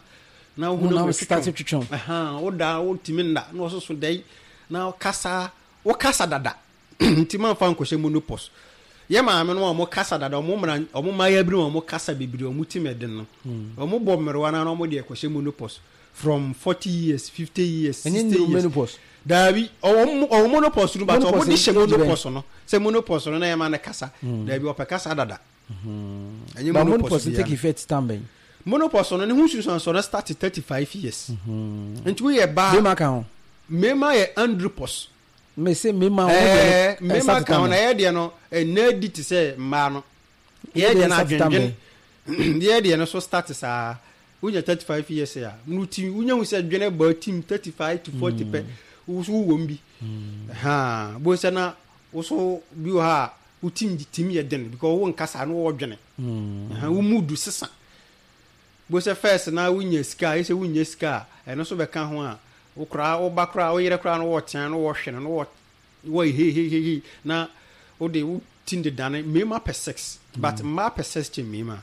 na wohunu ama ɛtwetwew, woda wotumi nna na ɔsoso dɛn na kasa, wokasa dada. Nti mamfa nkɔhyɛ menopause. Yɛ maame no a ɔmo kasa dada, ɔmo mmra, ɔmo mmaayɛ bere ɔmo kasa bebree, ɔmo ti mɛ den no, ɔmo bɔ mmerewa na ɔmo deɛ kɔhyɛ menopause from forty years, fifty years, Ɛnyɛ sixty nnuru years. Menopause. Daabi, ɔwɔ ɔwɔ menopause no, but ɔmo Menopause de hyɛ age bɛn? Menopause no sɛ menopause no na yɛ ma ne kasa. Daabi, ɔpɛ kasa dada, ɛnyɛ But menopause menopause biara. take effect time bɛn? Menopause no ne ho nsunsuansoɔ no start thirty five years, nti woyɛ baa. Bɛrima ka ho? Mmarima yɛ andropause. Me se mmarima wɔn ɛɛ deɛ no, mmarima start ka ho time na bɛn? yɛ deɛ no ɛnna di te sɛ mmaa no yɛ Yɛ deɛ deɛ no start time adwendwen yɛ deɛ no so start saa. Wonya thirty five years a no ti wonya hu sɛ dwene bɔ tim thirty five to forty pɛ, wo so wowɔ mu bi ha bo sɛ na wo so bi wɔ ha a wo tim tim yɛ den because wo nkasa no wɔ dwene. Ɛha, wo mood sesa bo sɛ first na wonya sika a ɛsɛ wonya sika a ɛno nso bɛka ho a wo koraa wo ba koraa wo yere koraa no wɔtea no wɔhwɛ no no wɔ wɔ hehehehe na wode wo ti de dane. Mmarima pɛ sex, but mmaa pɛ sex kyɛ mmarima.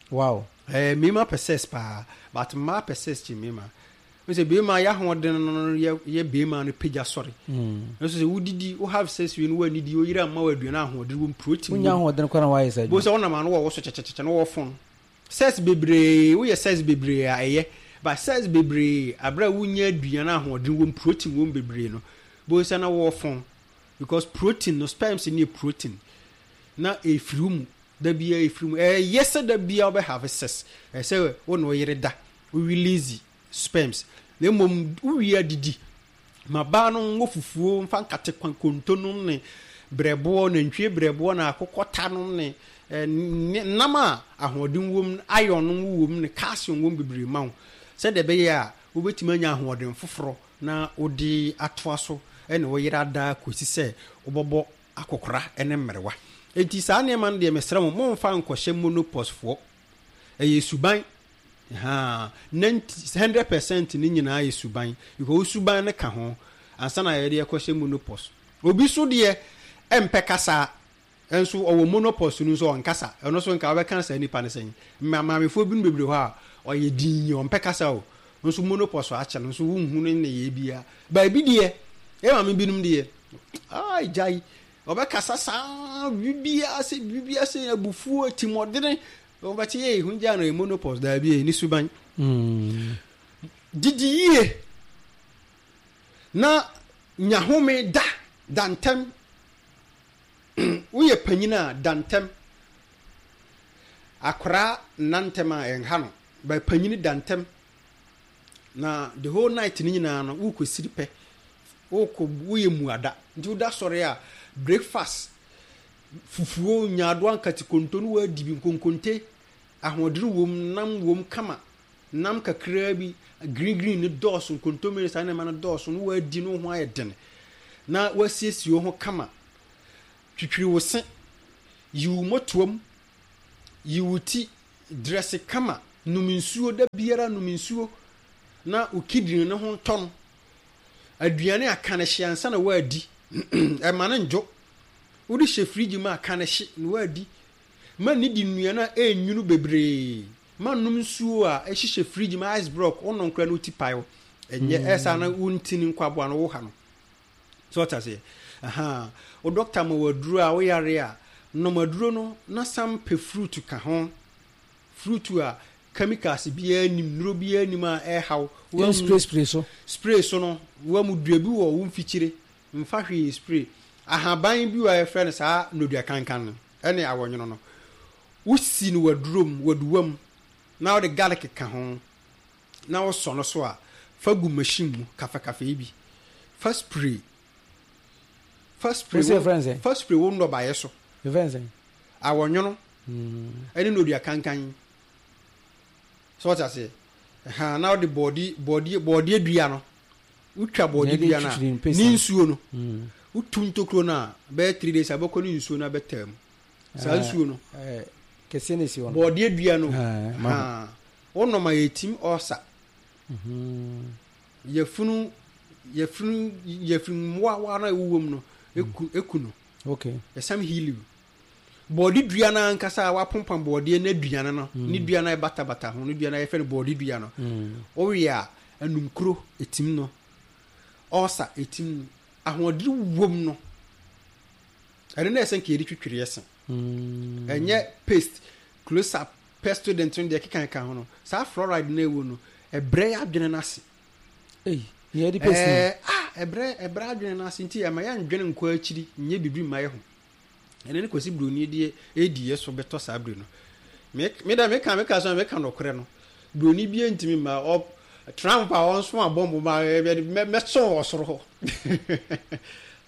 Wow. Ɛɛ, mmarima pɛ sex paa, but mmaa pɛ sex kyɛ mmarima. Wo sɛ barima yɛ ahoɔden no yɛ yɛ barima no pagya sɔre nso sɛ wodidi wo have sex wie no woanidi wo yere amma wo aduane ahoɔden wɔ mu, protein Wonya wɔ mu. Ahoɔden kora na wayɛ sɛ Bo adwuma. sɛ wonam ano wɔ wo so kyɛkyɛkyɛkyɛ na wɔwɔ phone sex bebree, woyɛ sex bebree a ɛyɛ, but sex bebree abere a wonya aduane ahoɔden wɔ mu, protein wɔ mu bebree no, bo sɛ na wɔwɔ phone because protein no, sperms no yɛ protein na efiri wo mu da bia, efiri mu. Ɛyɛ sɛ da bia wobɛ have sex, ɛsɛ wo na wo yere da wo release sperms, na mmom wowie adidi ma baa no nwɔ fufuo mfa nkate kwan konto nom ne brɛboɔ, nantwie brɛboɔ na akokɔ ta nom ne eh, ne nam a ahoɔden wɔ mu, iron nom wɔ mu ne calcium wɔ mu bebree ma wo sɛdeɛ ɛbɛyɛ a wobɛtumi anya ahoɔden foforɔ na wode atoa so ɛne wo yere ada kɔsi sɛ wobɛbɔ akɔkora ne mmerewa. Enti saa nneɛma no deɛ, mesrɛ mo, momfa nkɔhyɛ menopause foɔ. Ɛyɛ suban ha, ninety hundred percent ne nyinaa yɛ suban because wo suban no ka ho ansa na yɛde ɛkɔhyɛ menopause. Obi so deɛ ɛmpɛ kasa nso ɔwɔ menopause no nso ɔnkasa. Ɛno nso nka wobɛka saa nipa no sɛn? Mma maamefoɔ bi no bebree hɔ a ɔyɛ din, ɔmpɛ kasa o, nso menopause akyɛ no nso wonhu no ne yɛ bia baabi deɛ. Ɛ maame binom deɛ ai gyae, ɔbɛkasa saa biribiara sɛ biribiara sɛ abufuo timɔdene wɔbɛte yɛ ehu gya no yɛ menopause. Daabi, ɛyɛ ne suban. Didi yie na nya home da da ntɛm. Woyɛ panyin a, da ntɛm. Akwaraa nna ntɛm a ɛnha no ba, panyin da ntɛm na the whole night ne nyinaa no wokɔ siri pɛ, wokɔ woyɛ muada nti woda sɔre a, breakfast fufuo, nyaadoa, nkate konto no woadi bi, nkonkonte ahoɔden wom, nam wom kama, nam kakraa bi, green green ne dɔɔso, nkontommire, saa nneɛma no dɔɔso no woadi no ho ayɛ den na woasiesie wo ho kama. Twitwiri wo se, yi wo mmɔtoam, yi wo ti, dress kama, nom nsuo da biara, nom nsuo na wo kidney no ho ntɔ no. Aduane a ka no hye ansa na woadi, ɛma no ndwo. Wode hyɛ fridge mu a, ka no hye na woadi. Ma ne di nnuane a ɛnwunu bebree, ma nom nsuo a ɛhyehyɛ fridge mu, ice block wonom koraa na wo ti pae wo, ɛnyɛ ɛsa na wo ntini nkwaboa no wo ha no so ɔta seɛ. Aha wo doctor ma waduro a woyare a, nom aduro no na san pɛ fruit ka ho, fruit a chemicals biara nim, nnuro biara nim a ɛhaw. Yɛn spray spray so. Spray so no wamu dua bi wɔ wo mfikyire, mfa hwee spray. Ahaban bi wɔ a yɛfrɛ no saa nnodua kankan no ɛne awɔnwono no, wosi no wadurom waduwam na wode garlic ka ho na wosɔ no so a, fa gu machine mu kafakafa yi bi, fa spray, fa spray. Wosi yɛfrɛ no sɛn? Fa spray wo nnɔbaeɛ so. Yɛfrɛ no sɛn? Awɔnwono ɛne nnodua kankan sɛ wɔte aseɛ ha na wode bɔɔde bɔɔdeɛ bɔɔdeɛ dua no, wotwa bɔɔde Yɛde dua no a twitwiri mpesa. Ne nsuo no wotu ntokuro no a, bɛyɛ three days a bɛkɔ ne nsuo no abɛtaa mu saa nsuo no. Ɛɛ, kɛseɛ na esi hɔ no. Bɔɔdeɛ dua no. Ah, ma ho. Ha wonom a yɛtim ɔsa yɛfunu yɛfunu yɛfunu mmoawa no a ɛwowɔ mu no eku eku no. Okay. Ɛsam heal you. Bɔɔde dua no ankasa a wapompam bɔɔdeɛ no aduane no ne dua no a ɛbatabata ho no, dua no a yɛfrɛ no bɔɔde dua no, wowe a anumkuro ɛtim no, ɔsa ɛtim no, ahoɔden wom no. Ɛno na ɛsɛ nka yɛde twitwiri yɛ se. Mm. Ɛnyɛ paste, Close Up, Pepsodent no deɛ ɛkeka ɛka ho no. Saa fluoride no ɛwɔ no, ɛbrɛ yɛ adwene no ase. Ei, nea yɛde paste no. Ɛɛ, ah, ɛbrɛ ɛbrɛ adwene no ase nti ɛma yɛndwene nkɔ akyiri nyɛ biribi mma yɛ ho. Ɛno ne Kwasi Broni deɛ ɛdi yɛ so bɛtɔ saa bere no. Me me dɛ meka meka so a meka nɔkorɛ no. Broni bi ntumi mma ɔ Trump a ɔnso abɔmbo ma mɛsɔn wɔ soro hɔ.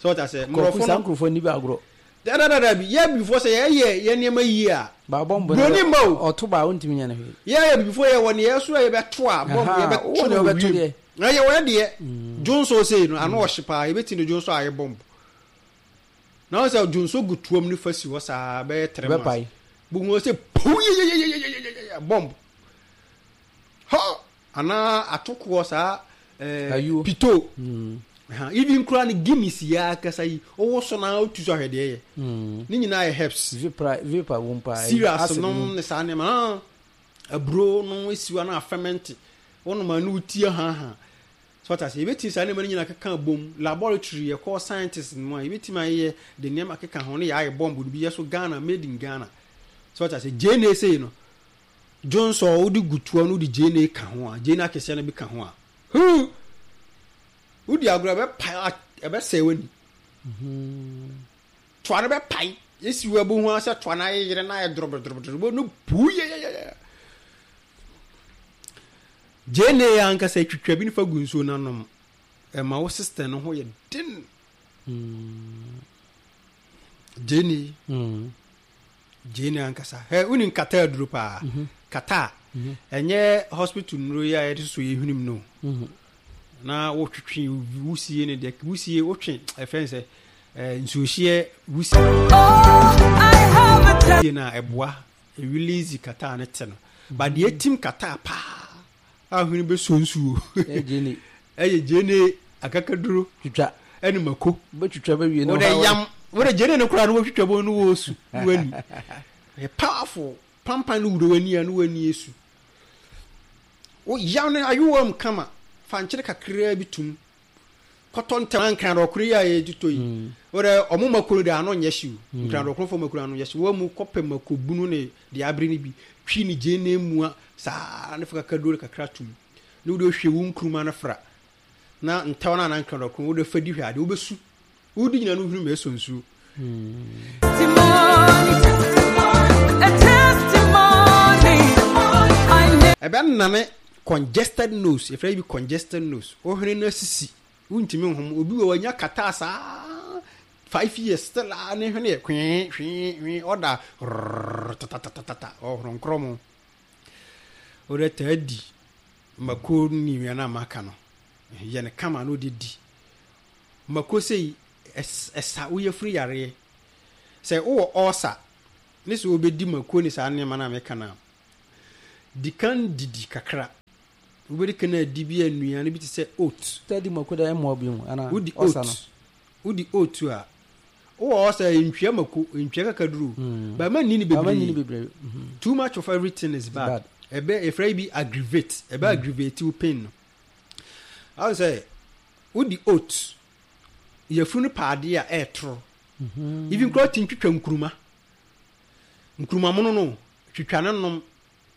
So ɔta sɛ Kɔkɔ mmorɔfo saa no nkurɔfoɔ ni bi agorɔ. Dadadada bi yɛ abibifoɔ sɛ yɛyɛ yɛ nneɛma yie a Ba bɔmbo no broni mma o. Ɔto ba wontumi nyɛ no hwee. Yɛyɛ abibifoɔ yɛ wɔ ne yɛ so a yɛbɛto a bɔmbo Aha, yɛbɛto wowɔ no nea wɔ wobɛto wiem. deɛ. Na yɛ wɔ deɛ dwonso sei no ano ɔhye paa, yɛbɛti no dwonso a yɛ bɔmbo. Na wɔn sɛ dwonso gu tuom ne fa si hɔ saa bɛyɛ three months. Bɛpae. Buhu sɛ puu yeyeyeyeyeyeye bɔmbo. Hɔ anaa atokoɔ saa ɛɛ Ayuo. Pito. Mm. Ha, even koraa ne Guinness yi akasa yi, ɔwɔ so na otu so ahwɛ deɛ yɛ. Mm. Ne nyinaa yɛ herbs. Vapor vapor wɔ mu paa. Cereals Acid nom mu. ne saa nneɛma ah aburo no esiwa na ferment wɔnom a ne wotie haha so ɔta sɛ yɛbɛtumi saa nneɛma no nyinaa keka bom laboratory, yɛkɔ scientist no mu a, yɛbɛtumi ayɛ de nneɛma keka ho ne yɛayɛ bomb no bi yɛ so Ghana, made in Ghana. So ɔta sɛ gyeene sei no Johnson wode gu toa no, wode gyeene ka ho a, gyeene akɛseɛ no bi ka ho a, huu, wodi agorɔ ɛbɛpae, ɛbɛsɛe w'ani. Toa no bɛpae esi wɔ ɛbo ho sɛ toa no ayeyere na ayɛ dorobodorobodorobo no puu yɛyɛyɛ. Gyeene yɛ ankasa twitwa bi nifa gu nsuo n'anom, ɛma wo system no ho yɛ den. Gyeene. Mm. Gyeene ankasa hɛ, woni nkata aduro paa, kata a ɛnyɛ hospital nnuro yi a yɛde soso yɛ hwenem no. Mhm. Na wotwetwe wusie ne deɛ wusie wotwe ɛfɛn sɛ ɛɛ nsuohyeɛ wusie na ɛboa release kata ne te no ba deɛ etim kata paa a hwene bɛsuo nsuo. Ɛyɛ gyeene. Ɛyɛ gyeene akakaduro. Twitwa. Ɛne mako. Bɛtwitwa bɛwie no. Wode yam wode gyeene no koraa no wɔtwitwa bɔ no wɔ su wani ɛyɛ powerful pampan no wura w'ani a no w'ani esu wo yam no ayowa mu kama, fa nkyene kakraa bi tum kɔtɔ ntɛm nkran dɔkoro yi a yɛtotɔ yi, wode ɔmo mako no de ano nyɛ hyew, nkran dɔkoro fo mako no ano nyɛ hyew. Wɔn mu kɔpɛ mako bunu ne deɛ abere no bi twi ne gyeene mua saa ne fa kakaduro kakra tum ne wode ohwie wo nkuruma no fra na ntɛw no anan nkran dɔkoro wode fa di hwɛ adeɛ wobɛsu wodi nyina no hwene ma ɛsɔ nsuo. Testimony, a testimony. I Ɛbɛnane congested nose, yɛfrɛ bi congested nose, wohwene no asisi, wontumi nhom. Obi wɔ wanya kata saa five years still a ne hwene yɛ hwee hwee hwee, ɔda rrrr tatatatata ɔhoro nkorɔ mu. Wode taa di mako ne nnuane a maka no, yɛ no kama na wode di mako sei ɛs- ɛsa woyɛ firi yareɛ sɛ wowɔ ɔɔsa ne sɛ wobɛdi mako ne saa nneɛma no a meka no a, di kan didi kakra, wobɛdi kan adi bi a nnuane bi te sɛ oat. Sɛ di mako da ɛmmoa bi mu ana? Wodi ɔsa oat no. Wodi oat a, wowɔ ɔsa, ntwea mako, ntwea kakaduro bɛma nni ne Bama nyini bebree. Bebree. Mhm. Too much of everything is bad. Bad. Ɛbɛ efra bi aggravate, ɛbɛ aggravate wo pain no. Awo sɛ wodi oat, yɛfunu no paade a ɛɛtoro, even kura ti ntwitwa nkuruma, nkuruma mono no twitwa ne nom,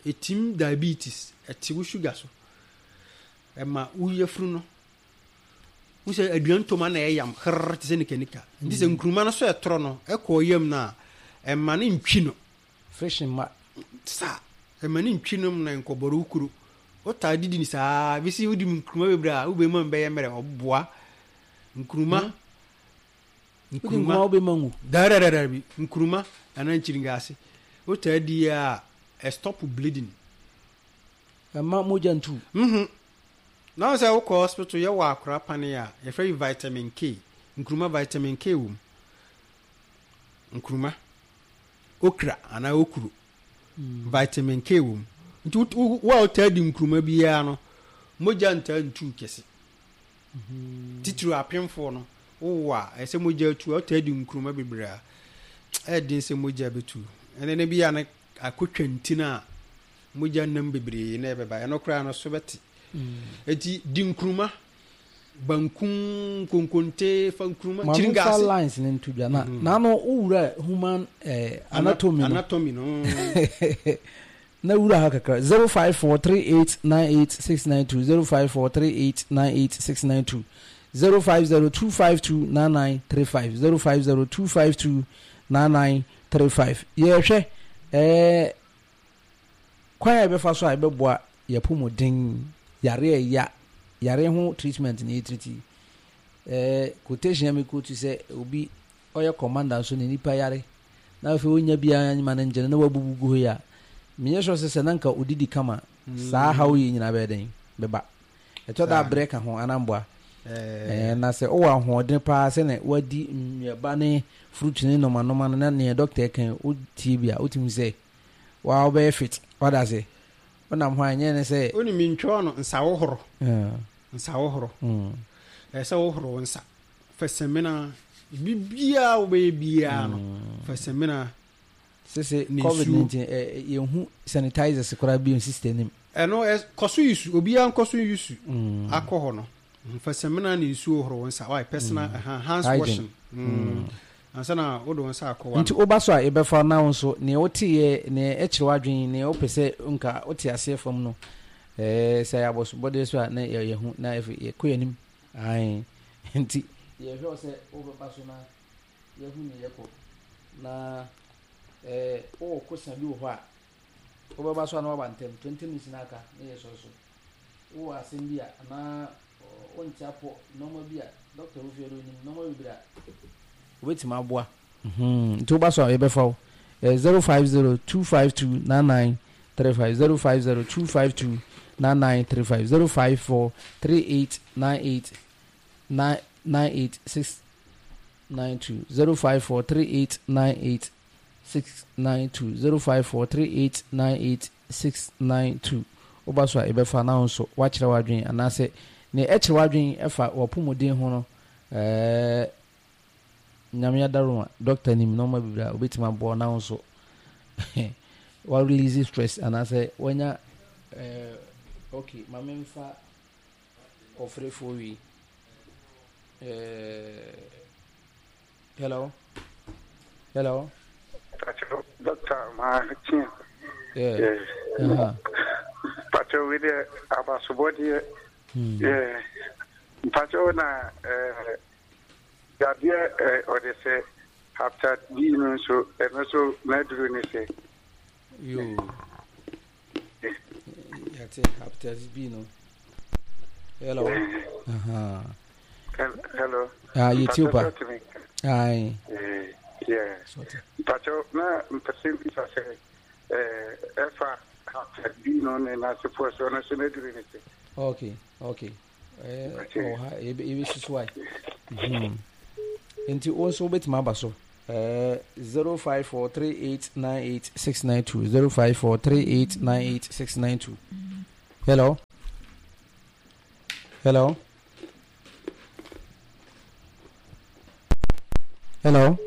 etim diabetes, ɛte wo sugar so, ɛma wo yɛfunu no wosɛ aduane toma na ɛyam herr te sɛ nikanika. Nti sɛ nkuruma no so ɛtoro no ɛkɔ yam no a, ɛma ne ntwi no Fresh mma. Saa ɛma ne ntwi nom na nkɔbɔre wo kuro. Wotaa didi ni saa bɛsi wodi mu nkuruma bebree a, wobɛma mu bɛyɛ mmerɛ. Ɔboa nkuruma. Wodi nkuruma wobɛma ngu. Dadadada bi nkuruma anaa nkyiringaase wotaa di a, ɛstop bleeding. Ɛma mogya ntu. mhm na wo sɛ wokɔ hospital yɛwɔ akora pane a yɛfrɛ yi vitamin K, nkuruma vitamin K wɔ mu. Nkuruma, okra anaa okuro, vitamin K wɔ mu. Nti wo- wo wo a wotaa di nkuruma biara no, mogya ntaa ntu kɛse. Titiri apemfoɔ no, wowɔ a ɛsɛ mogya tu a, wotaa di nkuruma bebree a, ɛyɛ den sɛ mogya bɛtu. Ɛnɛ ne bi a ne akotwa ntin a mogya nam bebree na ɛbɛba, ɛno koraa no so bɛte. Eti di nkuruma Banku, konkonte, fa nkuruma, Ma memfa kyirigase. Lines no nto dwa na naano wowura human eh, anatomy no. Anatomy no. Na wura ha kakra, zero five four three eight nine eight six nine two, zero five four three eight nine eight six nine two, zero five zero two five two nine nine three five, zero five zero two five two nine nine three five. Yɛhwɛ ɛɛ kwan a yɛbɛfa so a yɛbɛboa yɛpɔmuden, yare a ɛya yare ho treatment na yɛtiriti. ɛɛ quotation a mi quote sɛ obi ɔyɛ commander nso ne nipa yare na afei onya biara ma ne ngyene na wabubu gu hɔ yi a, menyɛ sure sɛ sɛ na nka odidi kama saa haw yi nyinaa bɛyɛ den bɛba. Ɛtɔ da abrɛ ka ho anamboa. Ɛɛ ɛɛ na sɛ wowɔ ahoɔden paa sɛnɛ wadi nnuaba ne fruit ne nɔmanɔma no na neɛ doctor kan wotie bi a, wotumi sɛ waa wobɛyɛ fit wada ase wonam hɔ a, ɛnyɛ ne sɛ Wonim ntwɔɔ no nsa wohoro. ɛɛ, Nsa wohoro. mm, Ɛsɛ sɛ wohoro wo nsa. Fa samina, biribiara wobɛyɛ biara no, fa samina sese ne COVID nsuo. nineteen ɛ yɛnhu sanitizers koraa bi sister nim. Ɛno ɛ kɔ so yusu, obiara nkɔ so yusu Mm. akɔ hɔ no. Fa samina ne nsuo horo wo nsa. Why personal mm. hands Hygiene. washing. Mm. Ansa na wode wo nsa akɔ wa. Nti woba so a, yɛbɛfa na wo nso nea woteyɛ, nea ɛkyerɛ w'adwene, nea wopɛ sɛ nka wote aseɛ fam no, ɛɛ sɛ yɛ abɔsobɔdeɛ so a na yɛ- yɛhu na afei yɛkɔ yɛnim ae. Nti yɛhwɛ wo sɛ wobɛba so na yɛhu ne yɛkɔ na ɛɛ wowɔ kosa bi wɔ hɔ a, wobɛba so a na waba ntɛm, twenty minutes na aka na yɛsɔre so. Wowɔ asɛm bi a anaa ɔ, wonte apɔ nneɛma bi a doctor wofie no onim nneɛma bebree a wobɛtumi aboa. Mhm. Nti woba so a, yɛbɛfa wo zero five zero two five two nine nine three five, zero five zero two five two nine nine three five, zero five four three eight nine eight nine nine eight six nine two, zero five four three eight nine eight six nine two, zero five four three eight nine eight six nine two. Woba so a, yɛbɛfa na wo nso woakyerɛ w'adwene anaasɛ nea ɛkyerɛ w'adwene ɛfa w'apɔmuden ho no. ɛɛ Nyame adaroma, doctor nim nneɛma bebree a obɛtumi aboa na wo nso wa release stress anaasɛ wanya. ɛɛ okay ma memfa ɔfrɛfoɔ wi. ɛɛ hello, hello. Pacho, Doctor Martin. Yeah. Yeah. Uh-huh. Pacho, we the abasobɔdeɛ. Hmm. Yeah. Pacho na eh yadeɛ eh ɔde sɛ hepatitis B no nso, ɛno nso n'aduru ne sɛ. Yo. Yɛte hepatitis B no. Hello. Uh-huh. Hello. Ah, yɛtie pa. Pacho, tumi. Aye. Eh, yeah. Sɔte. Pacho, na mpɛ sɛ mbisa sɛ eh ɛfa hepatitis B no ne n'asefoɔ so, ɔno nso n'aduru ne sɛ. Okay, okay. Eh, Okay. ɔwɔ ha, yɛbɛ yɛbɛsi so ayi. Mhm. Nti wo nso wobɛtumi aba so. Eh, zero five four three eight nine eight six nine two, zero five four three eight nine eight six nine two. Hello. Hello. Hello.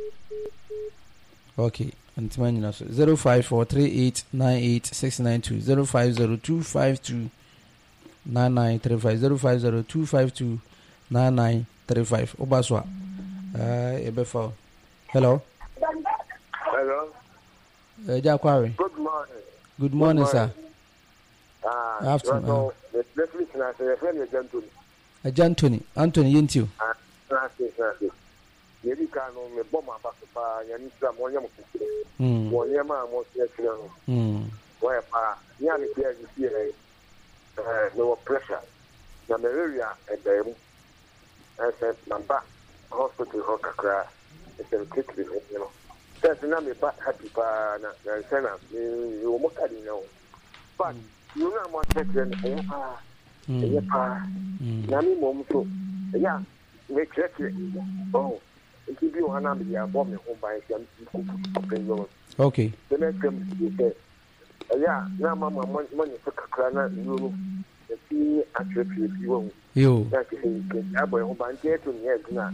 Okay. Ntoma nyina so, zero five four three eight nine eight six nine two, zero five zero two five two nine nine three five, zero five zero two five two nine nine three five. Woba so a, ɛɛ yɛbɛfa wo. Hello. Hello. Ɛgya Kware. Good morning. Good morning, sir. Ah, Afternoon. So, the referee na sɛ yɛfrɛ no Agya Ntoni. Agya Anthony, Anthony, yɛnti o. Ah, na ase na ase. Yɛdi kan no, mebɔ mo aba so paa, Nyame nhyira mo, ɔnyɛ mo kɛseɛ. Mm. Wɔ nneɛma a mokyerɛkyerɛ no, Mm. wɔyɛ paa. Me a mete a mesi ɛ, ɛɛ, mewɔ pressure. Na malaria ɛbɛn mu. Ɛsɛ maba hospital hɔ kakra, ɛsɛ metitiri ho no. First na meba happy paa na na nsɛ na me mewɔ mo card nyina o. But nneɛma a moakyerɛkyerɛ no, ɛyɛ paa. Ɛyɛ paa. Mm. Na me mmom nso, ɛyɛ a mekyerɛkyerɛ ɔho nti bi wɔ ha na mede abɔ me ho ban sɛ mekɔpɛ no Okay. sɛ mɛtwam sie sɛ ɛyɛ a na ama ma mɔnyɛ so kakra na nnuro no ɛti akyerɛkyerɛ bi wɔ ho Yo. na kyerɛ sɛ yɛabɔ yɛn ho ban nti ɛto nyɛ adwuma a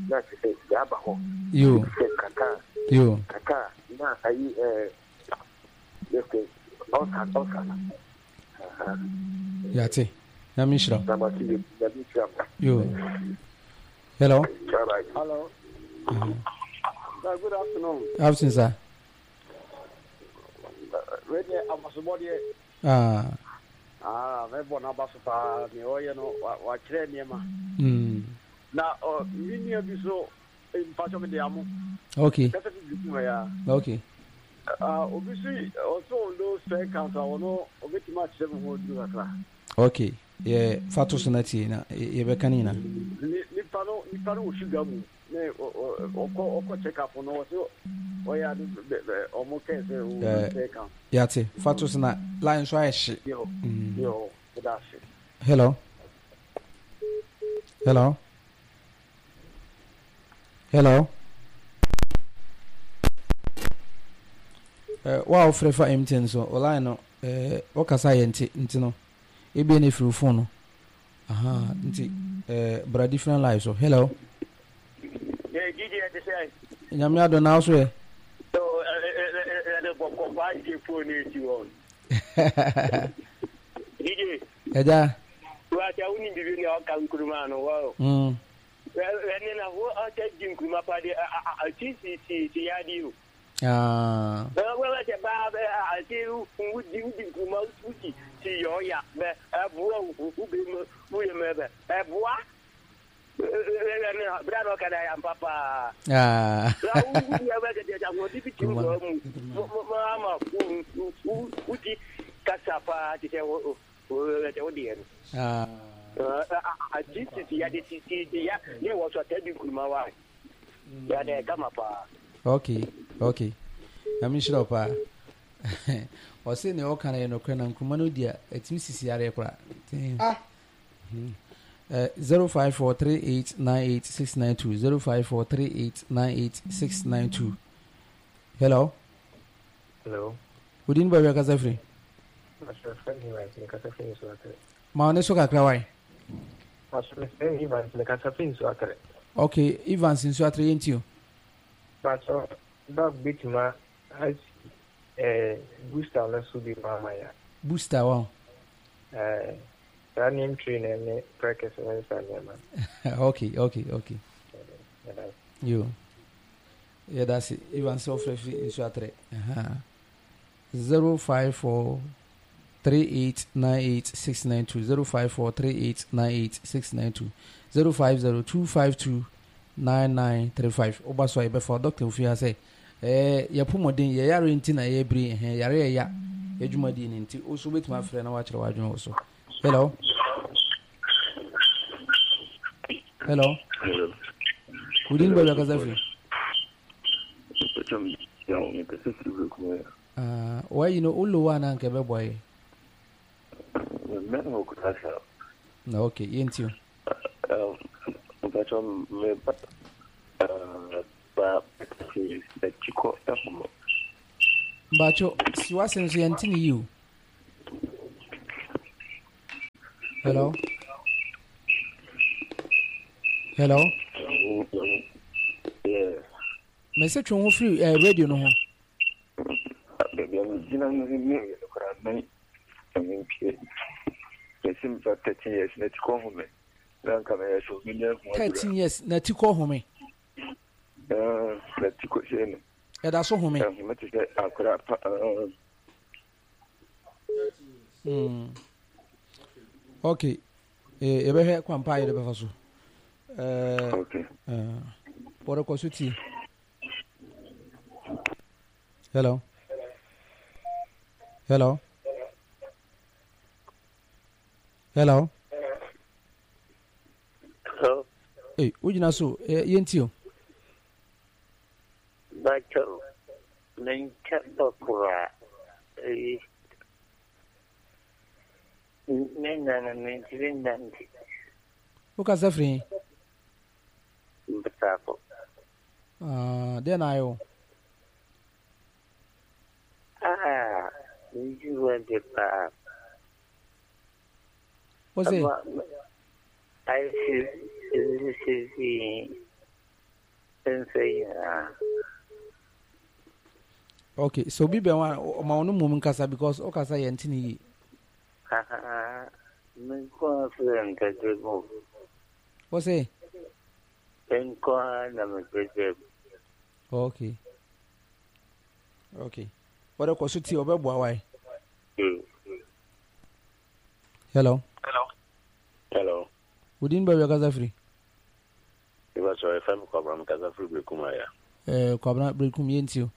na kyerɛ sɛ yɛaba hɔ. Yo. Sɛ kaka Yo. kaka na ayi ɛɛ yɛsɛ ɔsa ɔsa no. Yɛate. Nyame nhyira wo. Na mate bi, Nyame nhyira mo. Yo. Hello. Bye bye. Hello. Uh-huh. Sir, good afternoon. Afternoon, sir. Wei deɛ abasobɔdeɛ. Ah. Ah, mɛbɔ n'aba so paa. Nea ɔyɛ no, wakyerɛ nneɛma. Mm. Na ɔ me nua bi so mpatsɔ me de amo. Okay. Kasa fi bi kuma ya. Okay. Ah, obi so ɔso low sperm count a ɔno obetumi akyerɛ me ho aduru kakra. Okay. Yɛ fa to so na tie na yɛbɛka ne nyinaa. Nipa no nipa no wɔ sugar mu ne ɔkɔ ɔkɔ check up no ɔsɛ ɔyɛ ade ɔmo kɛɛ sɛ o low sperm count. Yate fa to so na line so ayɛ hye. Yo yo ɛda ase. Hello. Hello. Hello. Eh, wa wofrɛ fa M T N so o line no eh, wɔkasa yɛ nti nti no ebien na efiri phone no aha nti eh, bra different line so. Hello. Yeah, G G, I say. Nyame adɔ na so yɛ. So, eh, eh, bɔkɔ pa gye phone ni ti wɔn. G G. Ɛja. Wa ta wuni bibi ni ɔka nkuruma no wɔ. Mm. Ɛne na wo ɔtɛ di nkuruma pa de a ti si si si ya di o. Ah. Wọ́n wọ́n ṣe bá àti wúdi wúdi nkuruma wúdi ti yọ ya bẹ ẹbùa wúbi mu wúyẹ mu ẹbẹ ẹbùa ẹnẹ bíra náà kẹlẹ yà papa. Ah. Wúdi ẹbẹ kẹtẹ ẹsẹ àwọn bíbí ti wọ mu mọ ama wúdi kasa paa ti sẹ wọ ẹsẹ wọ́n di yẹn. Ah. Àti ti ti ya di ti ti ya ní wọ́n sọ tẹ́ di nkuruma wa yà dẹ kama paa. Okay, okay. Na me nhyira pa. Ɔse ne ɔka na yɛ nɔkorɛ na nkuruma no di a ɛtumi sisi areɛ koraa. Ah. zero five four three eight nine eight six nine two zero five four three eight nine eight six nine two. Hello. Hello. Wodin baabi akasa firi? Ma ɔne so kakra wae. Okay, Evans Nsuatre yɛnti o. Pastor, dog bituma as eh booster no so bi mama ya. Booster wa. Eh, that name train ne practice ne sa nema. Okay, okay, okay. Yo. Yeah, that's it. Evans Ofrefi Nsuatre. Aha. zero five four three eight nine eight six nine two zero five four three eight nine eight six nine two zero five zero two five two nine nine three five. Oba so ayi doctor ofi ha sɛ eh yɛpomɔden yɛ yare nti na yɛ bere eh yare yɛ ya adwuma di ne nti o so betumi afrɛ na wakyerɛ wadwene wo so. Hello. Hello. Hello. Wudin ba kasa fi. Ah, why you know ulo wa na nke be boy. Na okay, yenti o. Um, me ba Bacho, si wasen so yenti ni you. Hello. Hello. Yeah. Me se twon ho free eh radio no ho. Baby, I'm gina no me kora na me pie. Me sim for thirteen years na ti ko ho me. Na nka me so me nya ho. thirteen years na ti ko ho me. Eh, na ti ko se no. E da so ho me. Eh, me ti se akora pa. Mm. Okay. Eh, e be hwe kwampa ye de be fa so. Eh, okay. Eh, boro ko so ti. Hello. Hello. Hello. Hello. Hey, ujina so yenti o. Bacho menka bakura. Eh. Nena na mentinanti. Uka safri. Mbtafo. Ah, den ayo. Ah, you went to pa. What's it? I see this is the Okay, so be one my own mum kasa because okasa yentini. Ha ha. Me nko ara frɛ nkɛse mu. Wo se? Nko ara na mepɛ. Okay. Okay. Wɔde kɔ so tie, ɔbɛboa wae. Hello. Hello. Wodin, baabi akasa firi? Mepa kyɛw, yɛfrɛ me Kwabena, mekasa firi Berekum aya. Eh, Kwabena, Berekum, yɛntie o.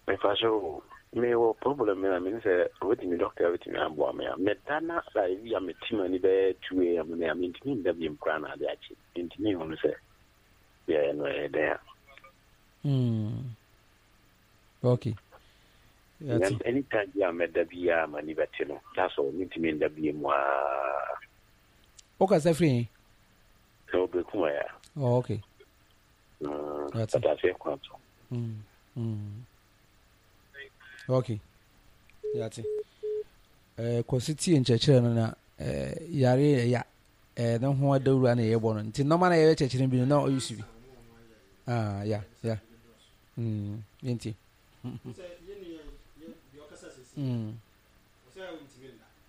Mepa kyɛw, mewɔ problem na mene sɛ wobɛtumi, doctor wobɛtumi aboa me a meda na like bi a meti m'ani bɛyɛ two a m na mentumi nda biom koraa na ade akye. Mentumi nhunu sɛ yɛyɛ no ɛyɛ dɛn a. Mm. Okay. Yɛate. Anytime bi a mɛda biara m'ani bɛte no, that's all, mentumi nda biom aa. Wokasa firi he? Ɛwɔ Berekum aya. Oh, okay. Mm, Yɛate. Pataseɛ kwan so. Mm. Mm. Okay. Yɛate. Eh, kɔsi tie nkyerɛkyerɛ no na eh, yare ɛya eh, ne ho adawura na yɛbɔ no, nti nɔɔma na yɛbɛ kyerɛkyerɛ bi no na ɔyɛ su bi. Ah, ya ya. Mm, yɛntie. Mm.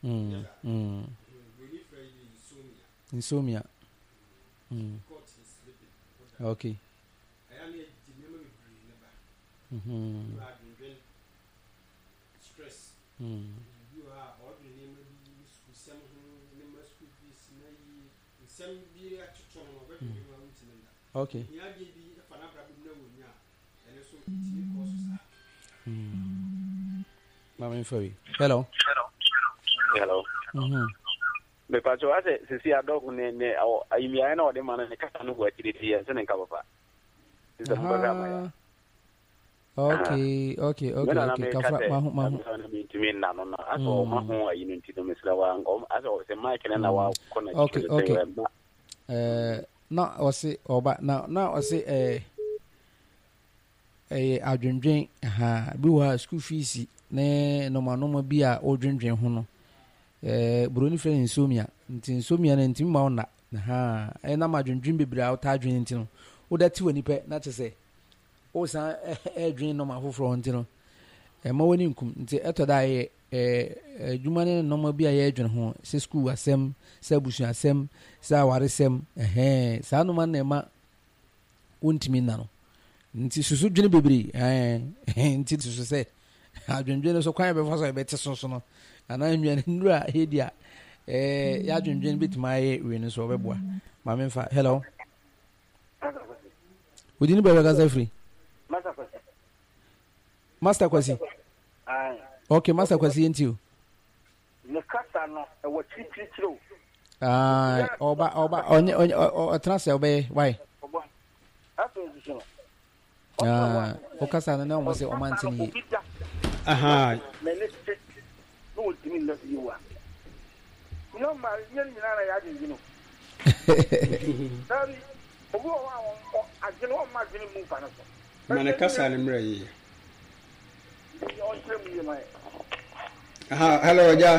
Mm. Mm. Insomnia. Mm. Okay. Mm-hmm. Mm. Okay. Mm. Mama mfa. Hello. Hello. Mm-hmm. Mepa kyɛw, asɛ sisi adɔg ne ne ayimiayɛ na ɔde ma no ne kasa no wɔ akyire ti yɛn sɛ ne nka papa. Sɛ mobɛhwɛ ama yɛ. Okay, okay, okay, okay. Kafra, mahu, mahu. Mentumi nna no no asɛ ɔma ho ayi no, nti no mesrɛ wa asɛ sɛ mic no na wakɔ na Okay, okay. Eh, na ɔse ɔba na na ɔse eh ɛyɛ adwendwen ha bi wɔ ha, school fees ne nɔɔma nɔɔma bi a ɔdwendwen ho no, ɛɛ buroni frɛ no insomnia, nti insomnia no ntumi ma wo nna ha, ɛnam adwendwen bebree a wotaa adwene nti no, woda ti wɔ nipa na kyerɛ sɛ wosan ɛɛdwen nɔɔma foforɔ ho, nti no ɛma w'ani nkum, nti ɛtɔ da a ɛyɛ ɛɛ adwuma ne nɔɔma bi a yɛredwene ho, sɛ school asɛm, sɛ abusua asɛm, sɛ awaresɛm, ɛhɛn, saa nɔɔma no na ɛma wontumi nna no, nti susu dwene bebree, ɛɛ nti susu sɛ adwendwene so kwan yɛ bɛfa so a yɛbɛte so so no, anaa nnuane nnuro a yɛdi a ɛɛ yɛadwendwene bɛtumi ayɛ wei no so, ɔbɛboa. Maame nfa. Hello, wodi ne baabi akasa firi? Master Kwasi. Okay, Master Kwasi, yɛnti o. Ne kasa no ɛwɔ kyirikyirikyiri o. Aa, ɔba ɔba ɔnyɛ ɔnyɛ ɔtena sɛ ɔbɛyɛ wae. Afei nso so no. Aa, ɔkasa no na wɔn sɛ ɔma nte ne yie. Aha. N'ani te na wɔntumi nna bio a. Normal nyɛ ne nyinaa na yɛ adwendwene o. Dabi, obi wɔ hɔ a wɔn adwene wɔn mma adwene mu nfa no so. Ma ne kasa no mmerɛ yie. Ɔnkyerɛ mu yie ma yɛ. Aha, hello, agya.